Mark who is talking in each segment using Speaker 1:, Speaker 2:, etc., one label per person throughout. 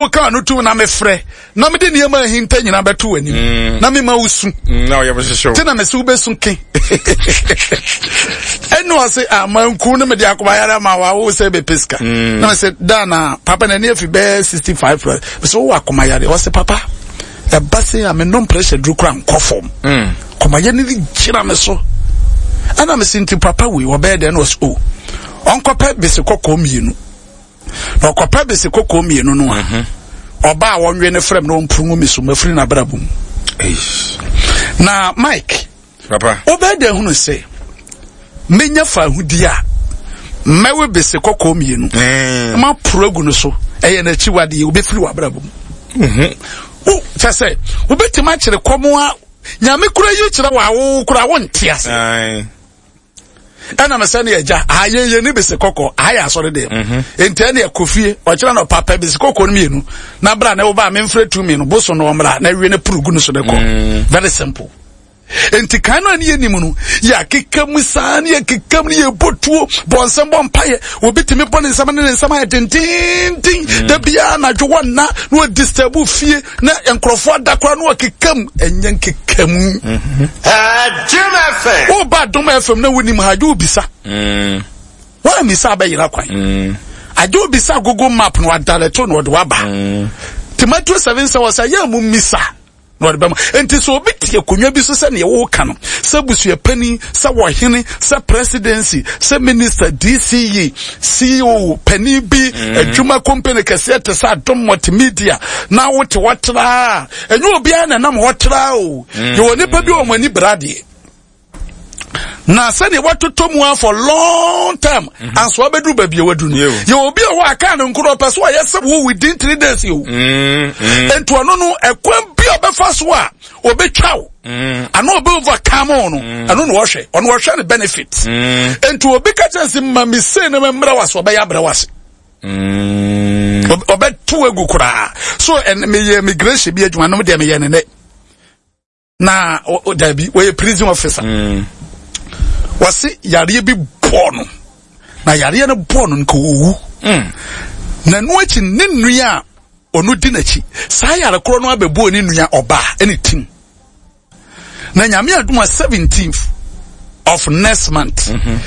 Speaker 1: Woka ano tum na mefrɛ na mede nneɛma ahinta nyinaa bɛto w'anim mm. na mema wo su
Speaker 2: mm, na ɔyɛ hyehyɛ
Speaker 1: te na mese wobɛsu ke ɛne ɔse amanku ah, no mede akomayare ma wawo sɛ bɛpɛ sika mm. na mese da na papa n'ani afi bɛɛ 65 plus mese wowɔ akomayare ɔse papa ɛba se a menom pressure duru kora nkɔ fam kɔmayɛ no gyina me so ɛna mese nti papa wei ɔbɛyɛ dɛn na ɔse o oh, ɔnkɔpɛ bese kɔkɔɔ mmienu na ɔkɔpɛ bese kɔkɔɔ mmienu no a mhm. ɔba a wɔnwe no frɛ m na ɔmpuru ngu me so mafiri n'abrabɔ mu na mike wobɛyɛ dɛ hunu sɛ menya fa ahudi a mɛwe bese kɔkɔɔ mmienu eh. ma poro agu no so ɛyɛ n'akyiwadeɛ wobɛfiri w'abrabɔ mu mhm. kyɛ sɛ wobɛtumi akyerɛ kɔm a nyame kora yi kyerɛ wɔ awo kora wonte ase ɛna mesɛ ne agya aha yɛn yɛn ni bese kɔkɔɔ aha yɛ asɔre deɛ mhm. nti ɛne ɛkɔ fie ɔkyerɛ na ɔpapa bese kɔkɔɔ no mmienu na bra na ɛwɔ a memfrɛ tumi no boso no ɔmmra na awie no puru gu no so de kɔ mm. very simple nti kan no a ne yɛ nim no yɛ akeka mu saa ne yɛ keka mu ne yɛ bɔ tuo bɔ nsɛm bɔ mpaeɛ obi tumi bɔ ne nsɛm ne ne nsɛm ayɛ dendenden mm. da biara anadwo wɔ nna na ɔdisturb fie na nkurɔfoɔ ada koraa na ɔkeka mu ɛnyɛ nkeka mu
Speaker 2: mhm.
Speaker 1: woba adom fm na wonim ha agye wobisa mm. woammisa abɛyera kwan mm. agye wobisa google map na wadalɛto na ɔde waba nti Matthew 7 sɛ wɔ sɛ yɛ mu mmisa na ɔde bɛma nti sɛ obi te akonnwa bi so sɛ nea wɔreka no sɛ busuapanin sɛ wɔhene sɛ presidency sɛ minister dce ceo panin bi mm. adwuma company kɛseɛ te sɛ adom multimedia na wote hɔ traa ɛnyɛ obiara na ɛnam hɔ traa o mm. yɛwɔ nipa bi wɔ wɔn ani bra deɛ na sɛdeɛ watotɔ mu a for long time mm -hmm. anso abɛduru baabi a wadu no yɛ obi a hɔ a kaa no nkoro ɔpɛ so ɔyɛ sɛ wo within three days o mm, mm. nti ɔno no ɛkwan bi a ɔbɛfa so a ɔbɛtwa wo mm. ana ɔbɛ overcome wo no mm. ɛno na ɔhwɛ ɔno ɔhwɛ no benefit mm. nti obi ka kyerɛ sɛ ma me sei na memmrɛ wo ase ɔbɛyɛ abrɛ wo ase ɔbɛto agu koraa so meyɛ immigration bi adwuma nom deɛ meyɛ ne nɛ na dabi wɔyɛ prison officer mm. wɔse yareɛ bi bɔɔ no na yareɛ no bɔɔ no nka ɔwu mm. na ɛno akyi ne nua a ɔno di n'akyi saa yare korɔ no abɛbɔɔ ne nua ɔbaa ɛne tim na nyame adom a 17th of next month mm -hmm.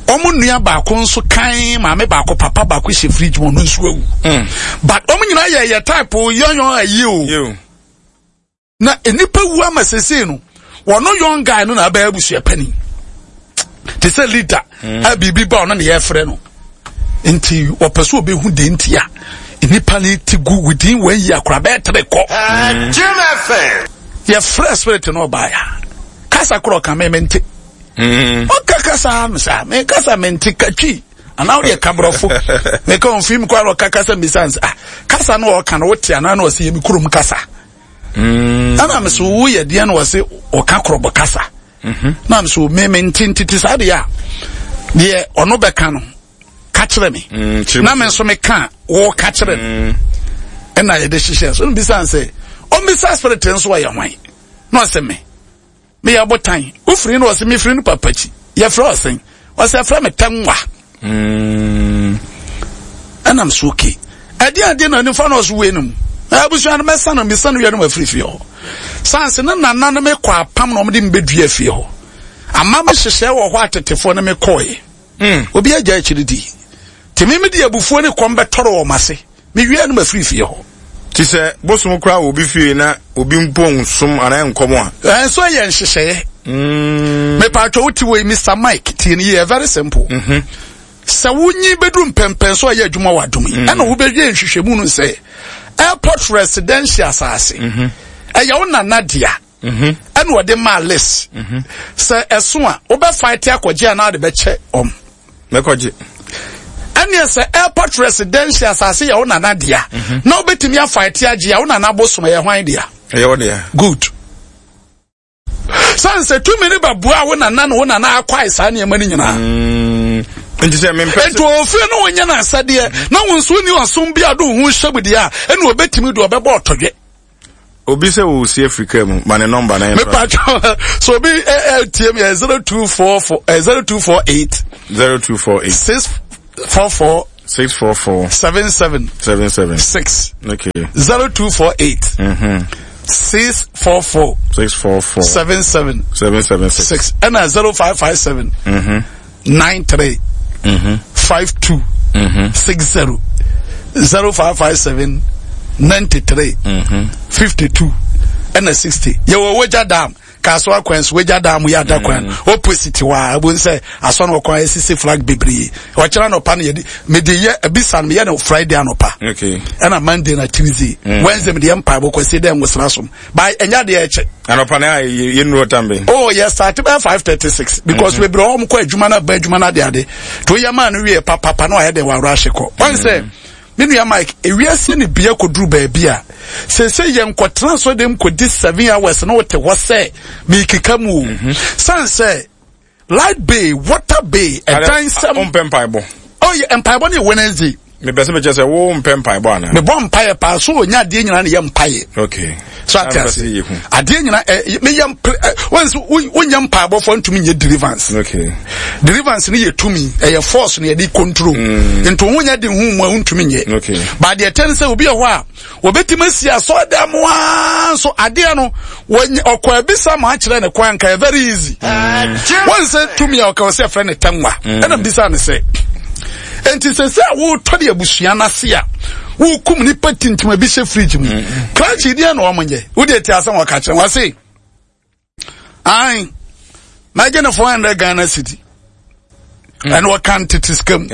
Speaker 1: wɔn nua baako nso kan maame baako papa baako hyɛ fridge mu ɔno nso awu mm. but wɔn nyinaa yɛ yɛ type yɔnyɔn ayi o na nnipa wu ama sesei no wɔn young guy no na abɛyɛ abusua panin te sɛ leader mm. a biribi ba ɔno na yɛfrɛ no nti wɔpɛ sɛ ɔbɛhu deɛ nti a nnipa no ti gu within one year koraa bɛyɛ tere kɔ mm. yɛfrɛ spirit no ɔbaeɛ kasa korɔ ɔka me mente mm. ɔka kasa no saa me kasa mente katwi anaa wodeɛ ka borɔfo meka ɔmfii mu koraa na ɔka kasa mbisa nsɛ ah kasa no ɔka no wote anaa na ɔsɛ yɛ me kurom kasa mm. ɛna me so woyɛ deɛ na ɔse ɔka korɔbɔ kasa mhm. na me so me me nte ntete saa deɛ a deɛ ɔno bɛka no ka kyerɛ me mm, na me nso meka wo ka kyerɛ no mm. ɛna yɛde hyehyɛ so mbisa sɛ ɔmbisa spirit nso ɔyɛ hwan na ɔsɛ me meyɛ ɔbotan wofiri no ɔsɛ mefiri no papa akyi yɛfrɛ ɔsɛn ɔsɛ ɛfrɛ me tɛnwa mm. ɛnam so oke ɛdeɛ adeɛ na nifa na ɔso wei no mu abusua no mɛsa no mesa no wia no mafiri fie hɔ sanse ne nana no mekɔ apam na ɔmde mbɛdua fie hɔ ama me hyehyɛ wɔ hɔ atetefoɔ no mekɔɛ mm. obi agya akyiri di tèmi mi de abufuo ne kɔm bɛtɔrɔ wɔn ase Mewie no mafiri fie hɔ.
Speaker 2: Te sɛ bosom koraa wɔ obi fie na obi mpo nsom anaa nkɔm a.
Speaker 1: Ɛnso ɛyɛ nhyehyɛeɛ. Mm. Mepatwa wo ti wei Mr. Mike tie no yie very simple. Mm -hmm. Sɛ wonyi bɛduru mpɛmpɛn so ɛyɛ adwuma wɔ adom yi mm. ɛna wobɛwie nhwehwɛmu no sɛ airport residential asase mm-hmm. ɛyɛ wo nana dea. Mhm. Ɛna ɔde maa list. Mhm. Sɛ ɛso a wobɛ fight akɔgye anaa de bɛkyɛ ɔm.
Speaker 2: Mɛkɔgye.
Speaker 1: Ɛneɛ sɛ airport residential asase yɛ wo nana dea mhm. na wobɛtumi afight agye a wo nana bosom ɛyɛ hwan dea?
Speaker 2: Ɛyɛ wo dea.
Speaker 1: Good. Sane sɛ tumi no bɛboa wo nana na wo nana akwae saa nneɛma no nyinaa.
Speaker 2: Mm. Nti sɛ mempɛ
Speaker 1: sɛ. Nti ofie no wonyɛ no asɛdeɛ na wo nso wonni ɔsom bi a de wo ho hyɛ mu deɛ a ɛna obɛtumi de ɔbɛbɔ ɔtɔdwe.
Speaker 2: Obi sɛ o si afiri kaa mu ma ne nɔmba na yɛn.
Speaker 1: Mepatwa so obi ɛ ɛ tie mi ɛ 0244 ɛ 0248.
Speaker 2: 0248.
Speaker 1: 644.
Speaker 2: 644.
Speaker 1: 77.
Speaker 2: 77.
Speaker 1: 6.
Speaker 2: Okay.
Speaker 1: 0248. 644.
Speaker 2: 644.
Speaker 1: 77.
Speaker 2: 776.
Speaker 1: 6. Ɛna 0557. 93. 52. 60. 0557. 93. 52. Ɛna 60. Yɛwɔ Wagya Dam. Kasoa kwan so wagya dan mu yɛ ada kwan mm. opposite hɔ a ebu sɛ asɔ no ɔkwan esisi flag bebree ɔkyerɛ anɔpa no yɛde mede yɛ ebisa no meyɛ no Friday anɔpa ɛna Monday na Tuesday mm. Wednesday mede yɛ mpaebɔ kwasi dɛ nwosra som ba ɛnya deɛ ɛkyɛ.
Speaker 2: Anɔpa no a yɛ nuru ɔtan bɛ.
Speaker 1: Oh yɛ start bɛ 5:36 because mm-hmm. bebree wɔn kɔ adwuma na ba adwuma na de ade to yɛ maa no wie papapa na ɔyɛ de wɔ awura ahyɛ kɔ wɔn sɛ. Me nua Mike, ewiase ne bea kɔduru baabi a, seesei yɛnkɔtena asɔre kɔdi 7 hours na wote hɔ sɛ meekeka mu o. San sɛ light bill, water bill, ɛdan sɛm.
Speaker 2: Ɔmpɛ mpaebɔ.
Speaker 1: Oh, yɛ mpaebɔ ne yɛ Wednesday.
Speaker 2: Mepɛ sɛ mekyɛ sɛ wo mpɛ mpaebɔ anaa?
Speaker 1: Mebɔ mpaeɛ paa so onya adeɛ nyinaa ne yɛ mpaeɛ.
Speaker 2: Okay.
Speaker 1: So ate ase. Adeɛ nyinaa ɛ meyɛ mp ɛ wɔn nso wonyɛ mpaebɔfoɔ ntumi nyɛ deliverance.
Speaker 2: Okay.
Speaker 1: Deliverance ne yɛ tumi, ɛyɛ force ne yɛde control. Nti wo nyɛ de hu mu a wontumi nyɛ.
Speaker 2: Okay.
Speaker 1: Ba deɛ ɛtɛ ne sɛ obi wɔ hɔ a wɔbɛtumi asi asɔredan mu ara nso adeɛ no wɔnyɛ ɔkɔ abisa ma akyerɛ ne kwan nka yɛ very easy. Wɔn sɛ tumi a ɔka ɔsɛ ɛfrɛ ne tɛnwa. Ɛna mbisa ne sɛ nti sɛ sɛ a wotɔ de abusua no ase a wokum nipa tintim bi hyɛ fridge mu. Krakye deɛ na wɔn nyɛ. Wode ti asɛm wɔka kyerɛ wɔn ase. Ae, mɛgye no 400 Ghana cedi. Ɛna ɔka ntete sika mu.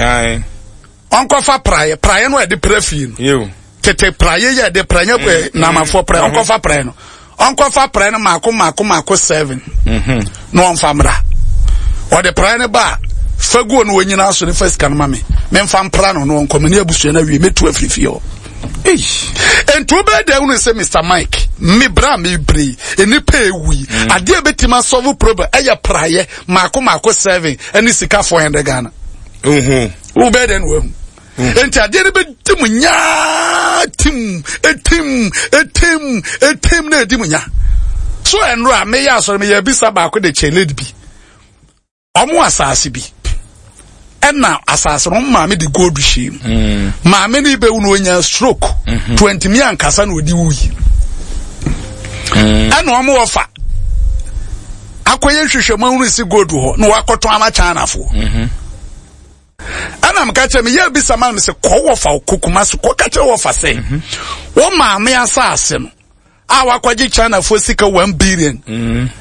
Speaker 1: Ɔnkɔfa praeɛ, praeɛ no a yɛde pra fie no. Tete praeɛ yɛ yɛde pra, nyɛ namafoɔ praeɛ, ɔnkɔfa praeɛ no. Ɔnkɔfa praeɛ no maako maako maako 7. Na ɔmfa mmra. Ɔde praeɛ no ba a, fa guo no wɔnyina so ne fa sika no ma me. Memfa mpra no na ɔnkɔ me ne abusua no awie, mɛtu afiri fie hɔ. Nti wobɛyɛ dɛ hunu sɛ Mr. Mike, me bra me bere yi, nnipa ewu yi, adeɛ bɛtumi asɔvo problem ɛyɛ praeɛ maako maako 7 ɛne sika 400 Ghana. Wobɛyɛ dɛ na wahu. Nti adeɛ no bɛdi mu nyaa tim, etim, etim, etim na edi mu nya. So ɛnora meyɛ asɔre meyɛ bisa baako de kyɛ lady bi. Ɔmo asase bi ɛna asase no maame de gold hyɛ mu. Maame no bɛwu no onya stroke. 20 ankasa na ɔde wuyi. Ɛna ɔmo wɔfa akɔyɛ nhwehwɛmu ahunu si gold hɔ na wakɔtɔn ama Chinafoɔ. Ɛna meka kyerɛ me yɛ bisa ma me sɛ kɔ wɔfa kokuma so kɔka kyerɛ wɔfa sɛ wɔ maame asase no a wakɔgye Chinafoɔ sika 1 billion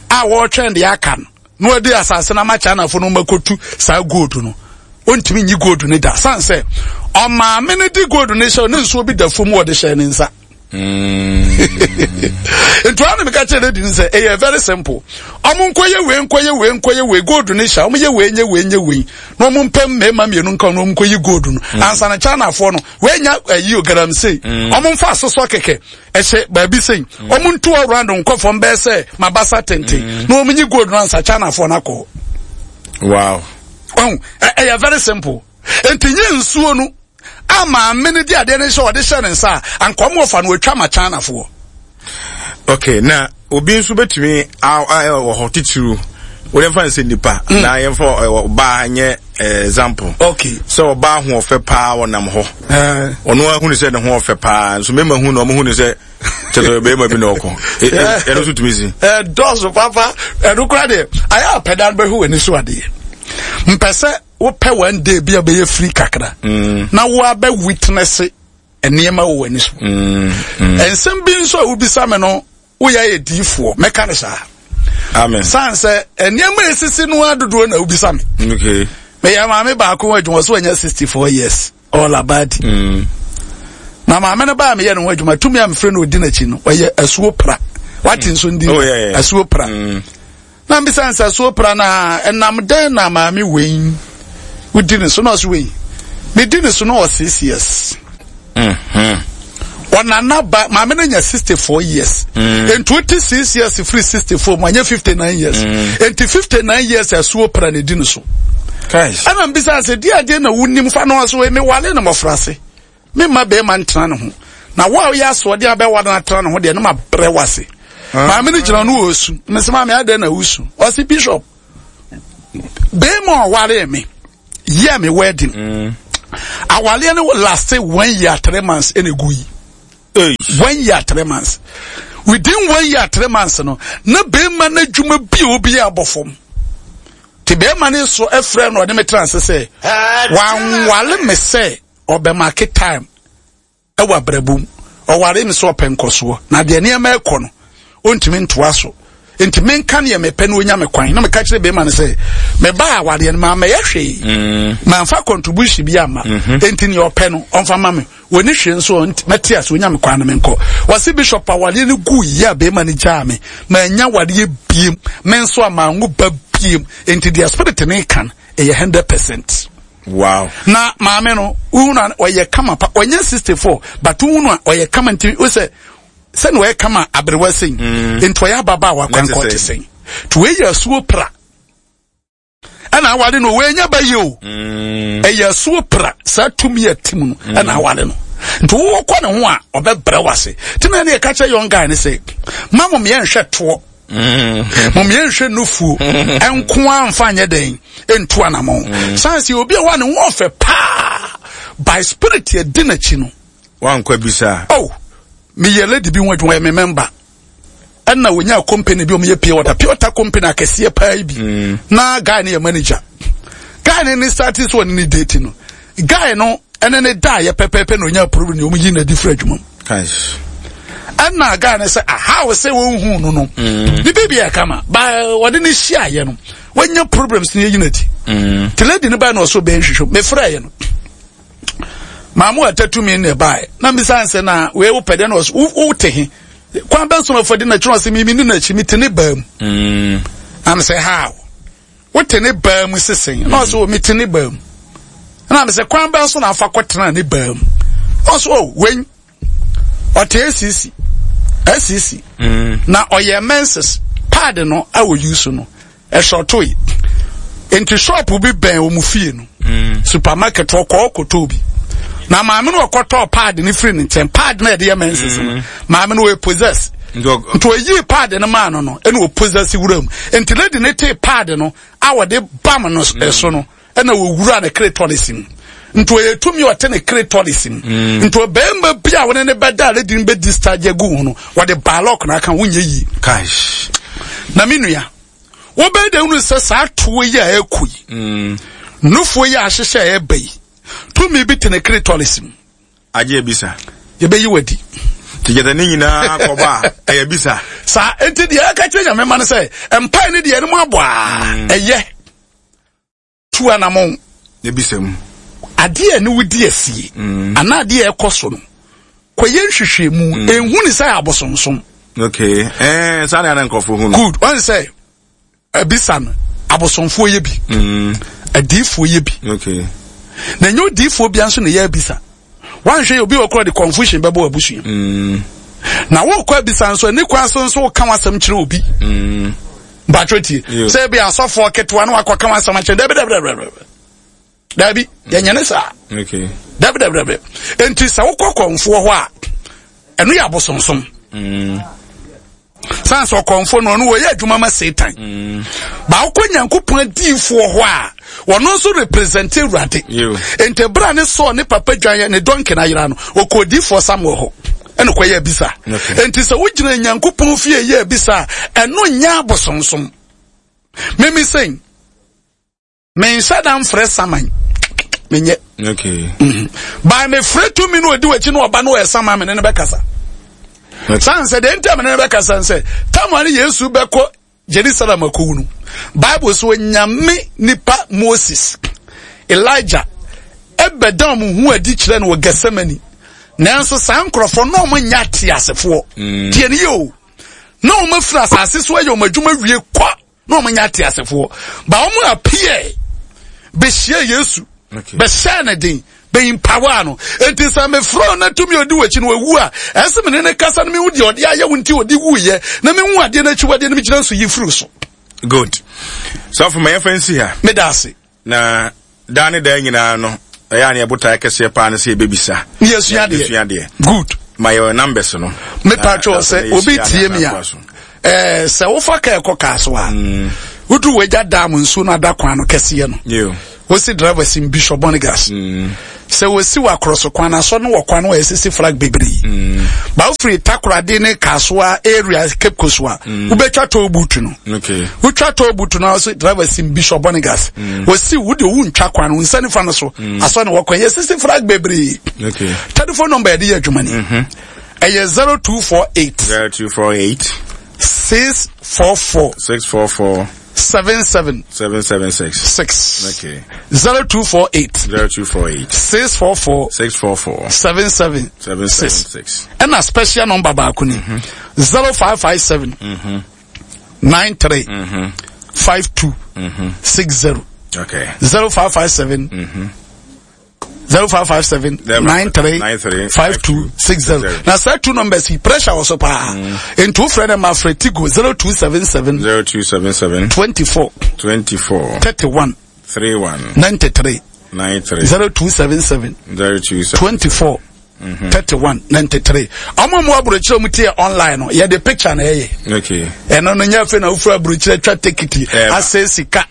Speaker 1: a wɔretwɛn deɛ aka no na wɔde asase no ama Chinafoɔ no makɔtu saa gold no, ɔntumi nyi gold no da san sɛ ɔmaame no de gold no hyɛ ne nsuo bi da fam wɔde hyɛ ne nsa. Nti wɔn meka kyerɛ lady no sɛ ɛyɛ very simple, ɔmo nkɔyɛ wei, nkɔyɛ wei, nkɔyɛ wei, gold no hyɛ ɔmo yɛ wei, nyɛ wei, nyɛ wei, na ɔmo mpɛ mmarima mmienu nka na ɔmo nkɔyi gold no ansa na Chinafoɔ no wei nya ɛyi o galamsey. Ɔmo nfa asosɔ kɛkɛ ɛhyɛ baabi sɛn, ɔmo ntu ɔround nkɔ fam bɛyɛ sɛ mabasa tenten na ɔmo nyi gold no ansa Chinafoɔ no akɔ. Ɔn ɛyɛ very simple. Nti nye nsuo no a maame no di adeɛ no hyɛ ɔde hyɛ ne nsa a anka ɔmo ɔfa no otwa ma Chinafoɔ.
Speaker 2: Okay, na obi nso bɛtumi wɔ hɔ titiriw wọ́n fa nsɛ nipa na yɛmfa ɔbaa nyɛ example. Sɛ ɔbaa ho ɔfɛ paa ɔnam hɔ. Ɔno ahunu sɛ ne ho ɔfɛ paa nso mmarima hu na ɔmo hu ne sɛ kyerɛ bɛrima bi na ɔkɔ. Ɛno nso tumi si.
Speaker 1: Ɛdɔɔso papa, ɛno kora deɛ ayɛ apɛda no bɛhwɛ w'ani so adeɛ. Mpɛ sɛ wopɛ one day bi a bɛyɛ free kakra na woabɛ witness nneɛma wɔ w'ani so. Nsɛm bi nso a wobisa me no, woyɛ ayɛ diifoɔ, mɛka no saa.
Speaker 2: Amen.
Speaker 1: San sɛ nneɛma a esisi no adodoɔ na wobisa me. Meyɛ maame baako ho adwuma so wanya 64 years all about. Na maame no baa meyɛ ne ho adwuma, tumi a mefrɛ no ɔdi n'akyi no ɔyɛ asuo pra. Wate nso ndi?
Speaker 2: Oh, yeah.
Speaker 1: Asuo pra. Na mbisa sɛ asuo pra na ɛnam dɛn na maame wei wodi ne so? Na ɔso wei medi ne so no wɔ 6 years. Ɔnana ba maame no nya 64 years. Nti wote 6 years firi 64 mu anyɛ 59 years. Nti 59 years asuo pra na edi ne so. Ɛna mbisa sɛ di adeɛ na wonim fa no ɔso wei mewale no mmɔfra ase, memma bɛrima ntena ne ho, na wo a woyɛ asoɔden abɛwa no atena ne ho deɛ no ma brɛ wase. Maame no gyina no wɔ su mesɛ maame adɛn na wosu? Ɔse bishop, bɛrima a ɔwaree me yɛ me wedding. Awaleɛ no last one year 3 months ɛna egu yi. 1 year 3 months. Within 1 year 3 months no, na bɛrima no adwuma bi a obi abɔ fam. Te bɛrima no so ɛfrɛ no, ɔde me tena ase sɛ wanwale me sɛ ɔbɛmark time ɛwɔ abrabom. Ɔware me sɛ ɔpɛ nkɔsoɔ, na deɛ nneɛma ɛkɔ no, ɔntumi ntoa so, nti menka neɛ mepɛ no, ɔnya me kwan. Na meka kyerɛ bɛrima no sɛ mebaa awareɛ no, maamɛyɛ hwee, mamfa contribution bi ama, nti neɛ ɔpɛ no ɔmfa ma me. Wɔni hwee nso mɛte ase, ɔnya me kwan no menkɔ. Wɔse, "Bishop, awareɛ no gu yie a, bɛrima no gyaa me, manya awareɛ biem, me nso a manwo ba biem." Nti deɛ spirit ne ka no ɛyɛ 100%. Na maame no, wohu no a, ɔyɛ kama pa. Ɔnyɛ 64, but wohu no a, ɔyɛ kama. Nti wo sɛ sɛne ɔyɛ kama aberewa sɛn, nti ɔyɛ ababaawa kwankɔ te sɛn. Nti wei yɛ asuo pra ɛna aware no. Wɔanya ba yi o, ɛyɛ asuo pra. Saa tumi yɛ tim no ɛna aware no. Nti wowɔkɔ ne ho a, ɔbɛbrɛ wo ase. Nti na ɛne yɛka kyerɛ young guy ne sɛ ma mo yɛnhwɛ toɔ, mo yɛnhwɛ nufuo ɛnko a mfa nyɛ dɛn ɛntu anammɔn. San sɛ obi a wa ne ho ɔfɛ paa, by spirit yɛdi n'akyi no.
Speaker 2: Wankɔ bisa.
Speaker 1: Oh, meyɛ lady bi ho adwuma, yɛ me member, ɛna wonya company bi, ɔmo yɛ pure water, pure water company akɛseɛ paa yi bi. Na guy no yɛ manager. Guy no ne start sɛ ɔne ne date no, guy no ɛne ne da yɛ pɛpɛɛpɛ na onya problem ne ɔmo yi na di firi adwuma mu. Ɛna guy no sɛ aha wɔ sɛ wɔn hu no no ne biribi yɛ kama ba, ɔde ne hyia yɛ no, wɔnya problems ne yɛ yi na di te lady no ba na ɔso bɛn hwehwɛ. Mefrɛ yɛ no, maamu atatu na ɛbaeɛ na mbisa nsɛ na wei wopɛ deɛ na ɔso wote he kwan bɛn so na ɔfɔ di n'akyi? Ɔsɛ mimi ne n'akyi, mi te ne baa mu. Na mi sɛ, "How wote ne baa mu sesen?" Na ɔsɛ, "O, mi te ne baa mu." Na mi sɛ, "Kwan bɛn so na afa kɔtena ne baa mu?" Ɔsɛ, "O, wei ɔte esisi esisi na ɔyɛ menses pad no a wɔyi so no ɛsɔtoe, nti shop bi bɛn wɔn fie no, supermarket, ɔkɔ ɔkɔtɔ bi na maame no ɔkɔtɔ pad no firi ne nkyɛn. Pad no a yɛde yɛ menses no, maame no wɔyɛ possess, nti ɔyii pad no maa no no ɛna ɔpossess wura mu. Nti lady ne tee pad no a wɔde bam no so no, ɛna wɔwura ne clitoris mu. Nti ɔyɛ tumi a ɔte ne clitoris mu. Nti ɔbɛrima bi a wɔne ne bɛda a, lady no bɛ discharge agu ho no, wɔde balɔk na aka wonyɛ yie. Na me nua, wobɛyɛ dɛ hunu sɛ saa toɔ yi a ɛkɔ yi, nufoɔ yi a ahyehyɛ a ɛba yi, tumi bi te ne clitoris mu.
Speaker 2: Agye ebisa.
Speaker 1: Yɛbɛyi wadi.
Speaker 2: Nti gyata ne nyinaa kɔba a, ɛyɛ bisa.
Speaker 1: Saa nti deɛ ɛka kyerɛ Nyame ma no sɛ mpae ne deɛ ɛno mu abɔ a, ɛyɛ tu anamɔn.
Speaker 2: Ebisa mu.
Speaker 1: Adeɛ a ne wodi asie anaa adeɛ a ɛkɔ so no, kɔyɛ nhwehwɛmu. Ɛnhu ne sɛ abosonsom.
Speaker 2: Okay, saa na ɛna nkurɔfoɔ hu no.
Speaker 1: Good. Ɔn sɛ ɛbisa no, abosomfoɔ yɛ bi, adiifoɔ yɛ bi. Na ɛnyɛ odiifoɔ bia nso na ɛyɛ abisa. Wanhwɛ yɛ obi wɔ korɔ de confusion bɛbɔ abusua. Na wokɔ abisa nso, ɛne kwan so nso woka w'asɛm kyerɛ obi. Mpatwɛ tie, sɛ ebi asɔfoɔ ketewa na wakɔka w'asɛm akyerɛ, dabi dabi dabi dabi dabi, yɛnyɛ ne saa. Dabi dabi dabi. Nti sɛ wokɔ kɔnfoɔ hɔ a, ɛno yɛ abosonsom. San sɛ ɔkɔnfoɔ no, ɔno wɔyɛ adwuma ma Satan. Ba wokɔ Nyankopɔn adiifoɔ hɔ a, wɔno nso represent Awurade. Nti berɛ a ne Sɔɔ ne papa dwan yɛ ne donkey no ayera no, ɔkɔ odiifoɔ Samuel hɔ ɛna kɔyɛ abisa. Nti sɛ wogyina Nyankopɔn fie yɛ abisa a, ɛno nyɛ abosonsom. Mimi sɛn menhyɛ da mfrɛ saman, menyɛ. By mefrɛ tumi no, ɔdi w'akyi no, ɔba no, ɔyɛ saman, mene no bɛkasa. San sɛ deɛ nti a mene no bɛkasa sɛ tama ne Yesu bɛkɔ Jerusalem akɔwu no, Bible so Onyame nipa Moses, Elijah ɛbɛda ɔmo ho adi kyerɛ no wɔ Gethsemane. Nanso saa nkurɔfoɔ na ɔmo nyɛ ateasefoɔ. Tie ne yie o, na ɔmo afiri asase so ayɛ ɔmo adwuma wie kɔ, na wɔn nyɛ ateasefoɔ, ba wɔn appear bɛhyia Yesu, bɛhyɛ ne den, bɛ empower no. Nti sɛ mefrɛ no na tumi odi w'akyi no wawu a, ɛsɛ me ne ne kasa no, mehu deɛ ɔde ayɛ wo nti ɔde wuyɛ, na mehu adeɛ no akyiwadeɛ no, megyina nso yi firi so.
Speaker 2: Good. Sɔfo, ma yɛmfa nsi ha.
Speaker 1: Meda ase.
Speaker 2: Na daa ne daa nyinaa no, ɛyɛ a ne yɛbotaeɛ kɛseɛ paa no sɛ yɛbɛbisa.
Speaker 1: Ne yɛsua adeɛ.
Speaker 2: Yɛsua adeɛ.
Speaker 1: Good.
Speaker 2: Ma yɛ numbers no.
Speaker 1: Mepa kyɛw, sɛ obi tie mi a, sɛ wofa kaa ɛkɔ kaa so a, wodu wagya dam nsuo no ada kwan no kɛseɛ no. Wosi driver si Bishop Bonigas. Sɛ wosi wɔ akorɔso kwan na asɔ no wɔ kwan no a esisi flag bebree. Ba wofiri Takoradi ne Kasoa area Cape Coast a, wobɛtwa toll booth no.
Speaker 2: Okay.
Speaker 1: Wotwa toll booth no a driver si Bishop Bonigas. Wosi wo deɛ wontwa kwan no, nsa nifa no so. Asɔ no wɔ kwan yɛsisi flag bebree.
Speaker 2: Okay.
Speaker 1: Telephone number yɛde yɛ adwuma ni. Ɛyɛ 0248.
Speaker 2: 0248.
Speaker 1: 644.
Speaker 2: 644.
Speaker 1: 77.
Speaker 2: 776.
Speaker 1: 6.
Speaker 2: Okay.
Speaker 1: 0248.
Speaker 2: 0248.
Speaker 1: 644.
Speaker 2: 644.
Speaker 1: 77.
Speaker 2: 776.
Speaker 1: Ɛna special number baako ni. 0557. 93. 52. 60.
Speaker 2: Okay.
Speaker 1: 0557. 0557 93 52 60. Na saa two numbers yi pressure wɔ so paa. Nti wofrɛ no ma frɛ Tigo 0277
Speaker 2: 0277
Speaker 1: 24
Speaker 2: 24
Speaker 1: 31
Speaker 2: 31
Speaker 1: 93
Speaker 2: 93
Speaker 1: 0277
Speaker 2: 027
Speaker 1: 24 31 93. Ɔmo mu aburokyerɛ mu tie online no yɛde picture na ɛyɛ.
Speaker 2: Okay.
Speaker 1: Ɛno no nyɛ afei na wofura aburokyerɛ twa tekiti asɛ sika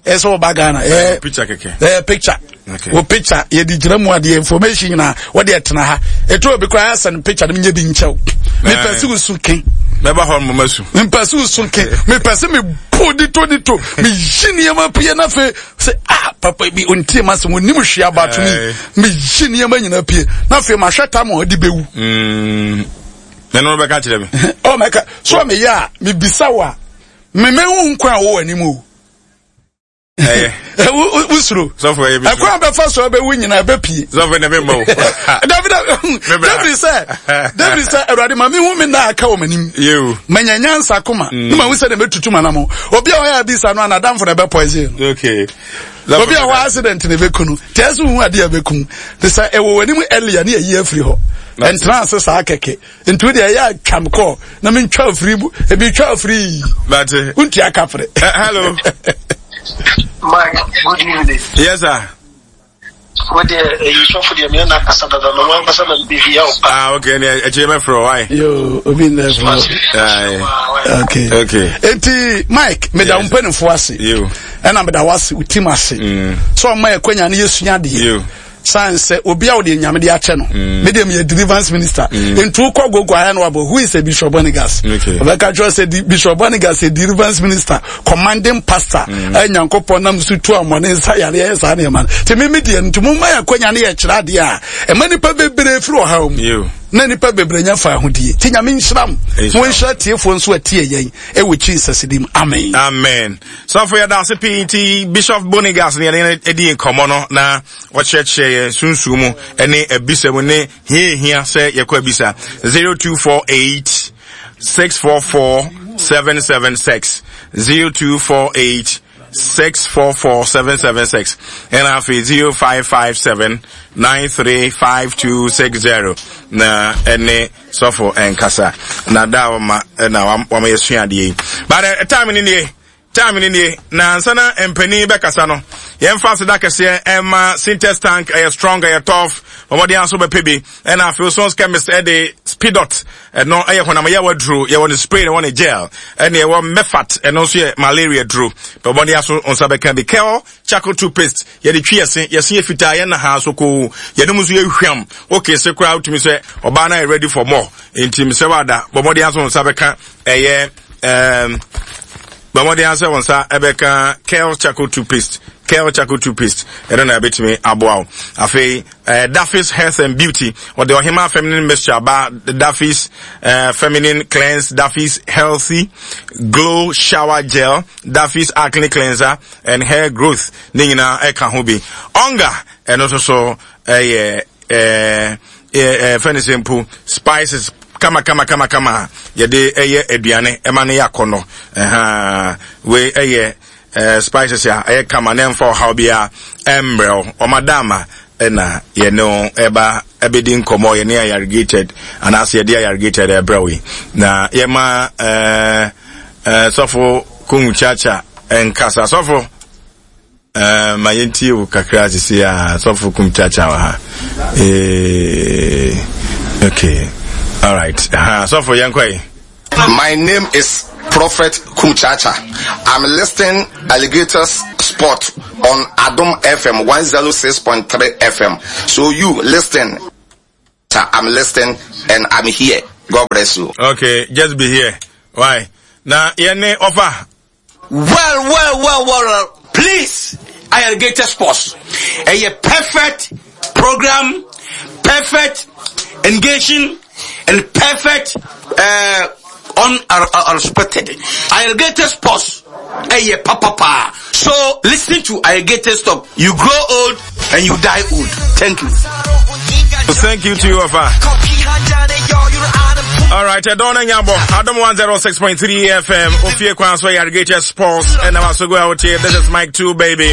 Speaker 1: ɛsɛ ɔba Ghana. Ɛɛ
Speaker 2: picture kɛkɛ.
Speaker 1: Ɛɛ picture.
Speaker 2: Okay.
Speaker 1: Wo picture yɛde gyina mu adeɛ information nyinaa wɔde ɛtena ha. Etu obi koraa asɛ no picture no nyɛ bi nkyɛw. Mepɛ sɛ wosu ke.
Speaker 2: Mɛba hɔ no mama su.
Speaker 1: Mepɛ sɛ wosu ke. Mepɛ sɛ mebu dito dito. Meyi nneɛma pie na afei sɛ ah papa bi ontie ma sɛ onim hwee about me. Meyi nneɛma nyinaa pie na afei mahwɛ tam a ɔde bɛwu.
Speaker 2: Na ɛno bɛka kyerɛ me.
Speaker 1: Ɔ mɛka so a meyɛ a mebisa wo a memehu nkwa a wɔ w'anim o.
Speaker 2: Ɛyɛ.
Speaker 1: Wosuro.
Speaker 2: Sɔfo ɛyɛ bi.
Speaker 1: Ɛkwan bɛfa so ɛbɛwu nyinaa ɛbɛpie.
Speaker 2: Sɔfo ɛna mi ma o.
Speaker 1: David David sɛ David sɛ Awurade ma mi hu mi na aka wɔ m'anim.
Speaker 2: Yewu.
Speaker 1: Manya nyansa koma. Ne ma hu sɛ de mɛtutu ma nam. Obi a ɔyɛ abisa no anadamfo na ɛbɛ poison no.
Speaker 2: Okay.
Speaker 1: Obi a hɔ accident na ɛbɛku no. Tí ɛsɛ hu adeɛ ɛbɛku. Te sɛ ɛwɔ w'anim earlier ne ɛyi afiri hɔ. Ɛntena ase saa kɛkɛ. Nti wo deɛ ɛyɛ atwam kɔ na mentwa afiri bu ebi twa afiri yi.
Speaker 2: Bate.
Speaker 1: Wontua kapere.
Speaker 2: Hello.
Speaker 3: Mike, good evening.
Speaker 2: Yes, sir.
Speaker 3: Wo deɛ ɛyi sɔfo deɛ meyɛ n'akasa dada na wɔn ankasa na mehia wo pa.
Speaker 2: Ah, okay, ne ɛkyɛ mɛfrɛ why?
Speaker 1: Yo, obi nnɛ frɛ. Okay.
Speaker 2: Okay.
Speaker 1: Enti Mike, meda wo mpanimfoɔ ase.
Speaker 2: Yo.
Speaker 1: Ɛna meda wo ase, wo team ase. So ɔma yɛ kwanya ne yɛsua adeɛ.
Speaker 2: Yo.
Speaker 1: San sɛ obi a wɔde nyame de akyɛ no. Me deɛ meyɛ deliverance minister. Nti wokɔ gogo ayɛ no wabɔ who is a Bishop Bonigas?
Speaker 2: Okay.
Speaker 1: Ɔbɛka kyerɛ sɛ Bishop Bonigas yɛ deliverance minister, commanding pastor. Ɛyɛ Nyankopɔn nam so tu amɔne nsa yareɛ yɛ saa nneɛma no. Nti me me deɛ nti momma yɛ akwanya ne yɛkyerɛ adeɛ a ɛma nipa bebree firi ɔhaw mu.
Speaker 2: Yo.
Speaker 1: Na nipa bebree nya fa ahodie. Nti Nyame nhyira mo.
Speaker 2: Nhyira
Speaker 1: Mo nhyira tiefoɔ nso atie yɛn ɛwɔ Jesus din mu. Amen.
Speaker 2: Amen. Sɔfo yɛda ase pii nti Bishop Bonigas ne yɛne adi nkɔmmɔ no na ɔkyerɛkyerɛ yɛn sunsum mu ne abisa mu ne hia ehia sɛ yɛkɔ abisa 0248 644 776 0248 644 776 ɛna afei 0557 935260 na ɛne sɔfo ɛnkasa na da a wɔma ɛna wɔma yɛsua adeɛ yi but uh, time ni nie time ni nie na ansa na mpanin bɛkasa no yɛmfa aseda kɛseɛ ɛma sintex tank ɛyɛ strong ɛyɛ tough wɔmɔden aso bɛpɛ bi ɛna afei sons chemist ɛde speedot ɛno ɛyɛ honam yɛ waduro yɛwɔ ne spray na ɛwɔ ne gel ɛne ɛwɔ mefat ɛno nso yɛ malaria duro wɔmɔden aso nsa bɛka bi kel charcoal toothpaste yɛde twi yɛse yɛse yɛ fitaa yɛn na ha so koo yɛn mu nso yɛ hwam okay se koraa wotumi sɛ ɔbaa no ayɛ ready for more nti mesɛ wada bɔ mmɔden aso nsa bɛka ɛyɛ ɛɛm bɔ mmɔden asɛ wɔn nsa ɛbɛka kel charcoal toothpaste kel charcoal toothpaste ɛno na ɛbɛtumi aboa wo afei ɛɛ eh, Daffy's health and beauty ɔde ɔhema feminine mixture aba Daffy's ɛɛ eh, feminine cleanse Daffy's healthy glow shower gel Daffy's acne cleanser and hair growth ne nyinaa ɛka ho bi ɔnga ɛno nso so ɛyɛ ɛɛ ɛɛ fɛn sɛ mpo spices kama kama kama kama yɛde ɛyɛ aduane ɛma no yɛ akɔnɔ ɛhaa wei ɛyɛ ɛɛ spices a ɛyɛ kama na ɛnfa ɔhaw biara ɛmbrɛw ɔmadama ɛna yɛne wo ɛba ɛbɛdi nkɔmɔ yɛne ayarigated anaasɛ yɛde ayarigated ɛbrɛw yi na yɛma ɛɛ. Eh, sɔfo Kung Chacha nkasa. Sɔfo, eh, ma yɛntie wo kakra sisi a sɔfo Kung Chacha wɔ ha. Eh, okay. All right. Ha, sɔfo yɛnkɔ yi.
Speaker 4: My name is Prophet Kum Chacha. I'm listing alligators. Sport on Adom FM 106.3 FM. So you listen. I'm listening and I'm here. God bless you.
Speaker 2: Okay, just be here. Why? Now, yene offer.
Speaker 5: Well, well, well, well, please, Irrigated Sports. A perfect program, perfect engaging, and perfect uh, unrespected. Irrigated Sports. A papa pa. So listen to Irrigated Stop. You grow old and you die old. Thank you.
Speaker 2: Thank you to you, Afa. All right, Adona Nyabo, Adam 106.3 FM, Ofie Kwanso, Irrigated Sports, and I'm also go out here. This is Mike 2, baby.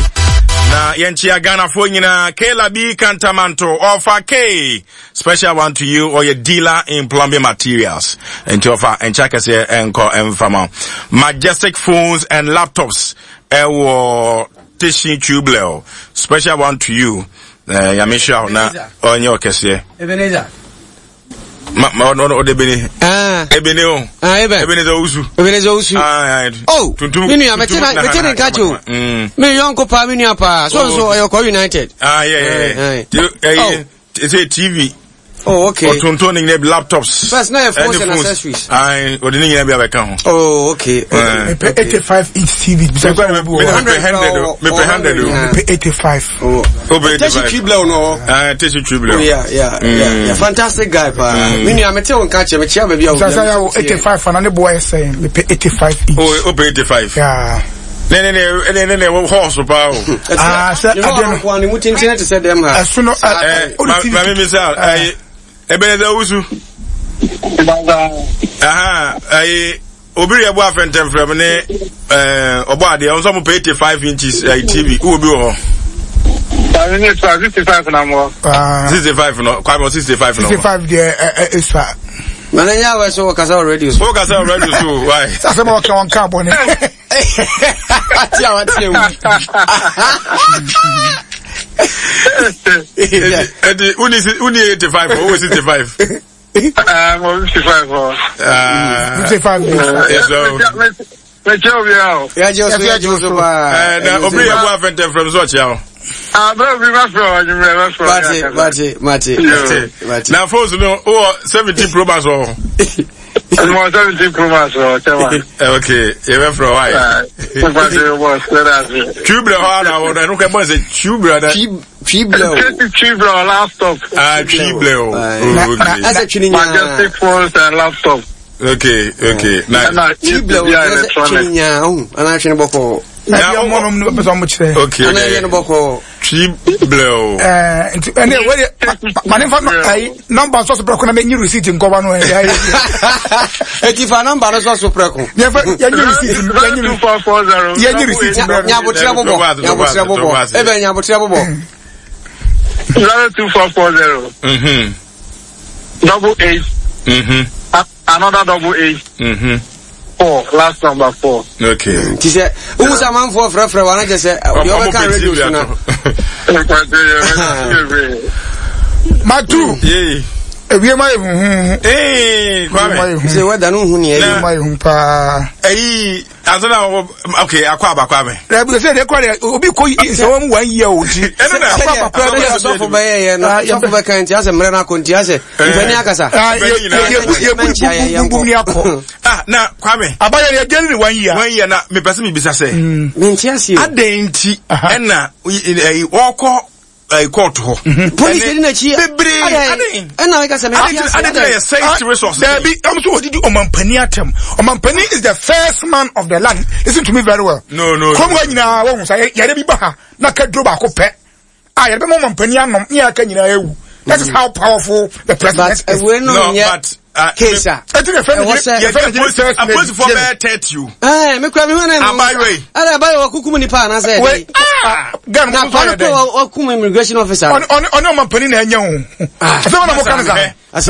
Speaker 2: Na yenchia Ghana fo nyina Kela B Kantamanto Offer K special one to you or your dealer in plumbing materials and offer and check us here and call and fama Majestic phones and laptops ɛwɔ Tishin Tublel special one to you eh yamisha na onye okese
Speaker 6: Ebenezer
Speaker 2: ma ma ɔno ɔde ebene
Speaker 6: ah
Speaker 2: ebene o
Speaker 6: ah eben
Speaker 2: Ebenezer Owusu
Speaker 6: Ebenezer Owusu
Speaker 2: ah
Speaker 6: oh
Speaker 2: tuntum
Speaker 6: me nua mete na mete ne nka kye o me yɔnko paa me nua paa so nso ɔyɛ kɔ United
Speaker 2: ah yeah yeah yeah eh TV
Speaker 6: Oh, okay.
Speaker 2: Ɔtontɔn ne nyinaa bi laptops.
Speaker 6: First na yɛ phones and accessories.
Speaker 2: Ayi, ɔde ne nyinaa bi abɛka ho.
Speaker 6: Oh, okay. okay.
Speaker 1: Mepɛ 85 inch TV.
Speaker 2: Mepɛ 100 o. Mepɛ 100 o.
Speaker 1: Mepɛ 85.
Speaker 6: Oh.
Speaker 2: Oh, 85.
Speaker 6: Teshi Tribble no.
Speaker 2: Ah, Teshi Tribble.
Speaker 6: Oh, yeah, yeah, mm. yeah, yeah. Fantastic guy pa. Mm. Me nua mete wo nka kyerɛ me kyerɛ baabi a wo.
Speaker 1: Sasa ya wo 85 ana ne boy sɛn. Mepɛ 85 inch.
Speaker 2: Oh, oh, 85.
Speaker 1: Yeah.
Speaker 2: Ne ne ne ne ne ne horse paa o.
Speaker 1: Ah, sɛ adeɛ no.
Speaker 6: Kwan ne mu tenten te sɛ dɛm ha.
Speaker 1: Ɛso no
Speaker 2: ɛ ɛ maame mi sa ɛyi Ebenezer Owusu. Aha ɛyi obi yɛ bɔ afɛntɛnfrɛm ne ɛɛ ɔbɔ adeɛ ɔnso mo pɛ 85 inches ɛyi TV wɔ bi wɔ hɔ.
Speaker 3: Kwame ne sua 65 na mo.
Speaker 2: 65 no Kwame 65 no.
Speaker 1: 65 deɛ ɛ ɛ esua.
Speaker 6: Mana nya awɛ so wɔkasa wɔ radio so.
Speaker 2: Wɔkasa wɔ radio so why?
Speaker 1: Sasɛ ma wɔka wɔn ka bɔ ne.
Speaker 6: Ati a wate ewu.
Speaker 2: Eti wuni wuni 85 o wɔ 65.
Speaker 3: Mo 55 o.
Speaker 1: 55.
Speaker 2: Yes o.
Speaker 3: Mekyɛ obi a o.
Speaker 6: Yagye oso yagye oso paa.
Speaker 2: Na obi yɛ bɔ afɛntɛnfrɛm so ɔkyea o.
Speaker 3: Abẹ́ obi bá fẹ́ ọ ọdún bẹ́ẹ̀ bá fẹ́ ọ.
Speaker 6: Mate mate mate mate.
Speaker 2: Na phones no wɔ 17 pro max wɔ hɔ.
Speaker 3: Mo 17 pro max wɔ kyɛ ma.
Speaker 2: Ok yɛ bɛ fɛ wa yɛ. Twibrɛ hɔ ana wɔ ɛnu kɛ bɔ sɛ twibrɛ dɛ.
Speaker 6: Twibrɛ o.
Speaker 3: Twibrɛ o laptop.
Speaker 2: Ah twibrɛ o.
Speaker 6: Ok. Ɛsɛ twini nyaa.
Speaker 3: Majestic phones and laptop.
Speaker 2: Okay okay nice.
Speaker 6: Twibrɛ o ɛsɛ twini nyaa ɔhun ana twini bɔkɔ.
Speaker 1: Na bi ɔmo nom no bɛ sɛ ɔmo kyerɛ.
Speaker 2: Okay
Speaker 6: ana yɛ no bɔkɔ.
Speaker 2: Twibrɛ o.
Speaker 1: Ɛɛ nti ɛnɛ wɛrɛ ma ne fa ayi nɔmba sɔsɔ pɛrɛ ko na mɛ nyi receipt nkɔba no ɛyɛ ayɛ.
Speaker 6: Eti fa nɔmba no sɔsɔ pɛrɛ ko.
Speaker 1: Yɛ fɛ yɛ nyi receipt yɛ nyi yɛ nyi receipt
Speaker 6: mbrɛ. Nyabotrɛ bɔbɔ nyabotrɛ bɔbɔ ebe nyabotrɛ bɔbɔ.
Speaker 3: 02440. 88. Another 88. 4 last number 4.
Speaker 2: Okay.
Speaker 6: Ti sɛ wohu sɛ amanfoɔ frɛfrɛ wa na kyɛ sɛ deɛ ɔbɛka radio so no.
Speaker 1: Matu. Ewie ma yɛ huhuhu.
Speaker 2: Ee Kwame.
Speaker 6: Sɛ wɛda no hu neɛ.
Speaker 1: Ewie ma yɛ hu paa.
Speaker 2: Ɛyi ansa na wɔ okay akɔ aba Kwame.
Speaker 1: Ɛbi sɛ deɛ kɔ deɛ obi kɔ yi sɛ wɔn mu wɔn yie o ti.
Speaker 2: Ɛno na
Speaker 1: akɔ aba Kwame.
Speaker 6: Sɛdeɛ sɔfo bɛyɛ yɛ no sɔfo bɛka nti asɛ mmerɛ no akɔ nti asɛ mpani akasa.
Speaker 1: Yɛ bu ni akɔ.
Speaker 2: Ah na Kwame.
Speaker 1: Abayɛ yɛ gɛli ni wɔn yie.
Speaker 2: Wɔn yie na mepɛ sɛ mebisa sɛ.
Speaker 6: Mente aseɛ.
Speaker 2: Adɛn nti ɛna wɔkɔ court hɔ.
Speaker 6: Polisi di n'akyi.
Speaker 2: Bebree adɛn.
Speaker 6: Ɛna meka sɛ mente aseɛ.
Speaker 2: Adɛn na yɛ sɛe resources.
Speaker 1: Dabi ɛmu sɛ wɔdidi ɔmampanin atɛm. Ɔmampanin is the first man of the land. Listen to me very well.
Speaker 2: No no.
Speaker 1: Kurom hɔ nyinaa wɔn sɛ yɛrɛ bi ba ha na ka duro baako pɛ. A yɛrɛ bɛ ma ɔmampanin anom ne yɛrɛ ka nyinaa ewu. That is how powerful the president
Speaker 6: but,
Speaker 1: is.
Speaker 6: No, but case a.
Speaker 1: Ɛti na fɛn mi yɛ fɛn mi first lady.
Speaker 2: Apolisifoɔ bɛyɛ 30 o.
Speaker 6: Ɛɛ mi kura mi hɔn na.
Speaker 2: Abayewa yi.
Speaker 6: Ɛna abayewa wakukum nipa anasɛ.
Speaker 1: Wei Ghana
Speaker 6: na
Speaker 1: mo nso yɛ dɛ.
Speaker 6: Na wakum immigration officer.
Speaker 1: Ɔne ɔne ɔmampanin na ɛnyɛ o. Asɛm na mo ka ne sa.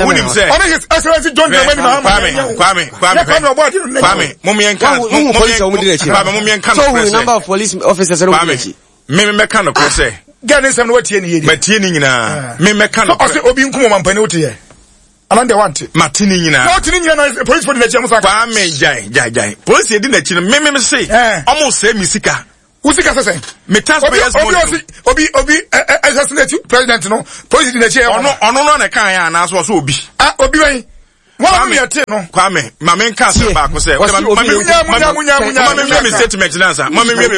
Speaker 2: Wunim sɛ.
Speaker 1: Ɔne his excellence John Dramani Mahama.
Speaker 2: Kwame Kwame Kwame
Speaker 1: Kwame ɔbɔ adi no.
Speaker 2: Kwame mo miɛ nka.
Speaker 6: Wo police a wɔn di n'akyi.
Speaker 2: Kwame mo miɛ nka
Speaker 6: no. So who number of police officers a wɔn di n'akyi.
Speaker 2: Me mɛka no korɛ sɛ.
Speaker 1: Gɛɛ ne nsɛm no watie ne yie deɛ.
Speaker 2: Matie ne nyinaa. Me mɛka no korɛ.
Speaker 1: Ɔsɛ obi nkum ɔmampanin wote yɛ. Anan deɛ wante.
Speaker 2: Mate ne nyinaa.
Speaker 1: Na ɔte ne nyinaa na polisi fo di n'akyi ɔmo sa.
Speaker 2: Kwame gyae gyae gyae. Polisi di n'akyi no me me se. Ɔmo sɛ mi sika.
Speaker 1: Wusi kasa sɛn.
Speaker 2: Me taxpayers money.
Speaker 1: Obi obi obi assassinate president no police di n'akyi.
Speaker 2: Ɔno ɔno no na kan yɛ anaasɛ ɔsɛ obi.
Speaker 1: Ah obi wɛn. Wɔn mu yɛ te no.
Speaker 2: Kwame maame nka asɛm baako sɛ. Maame nwie mi statement nansa. Maame nwie mi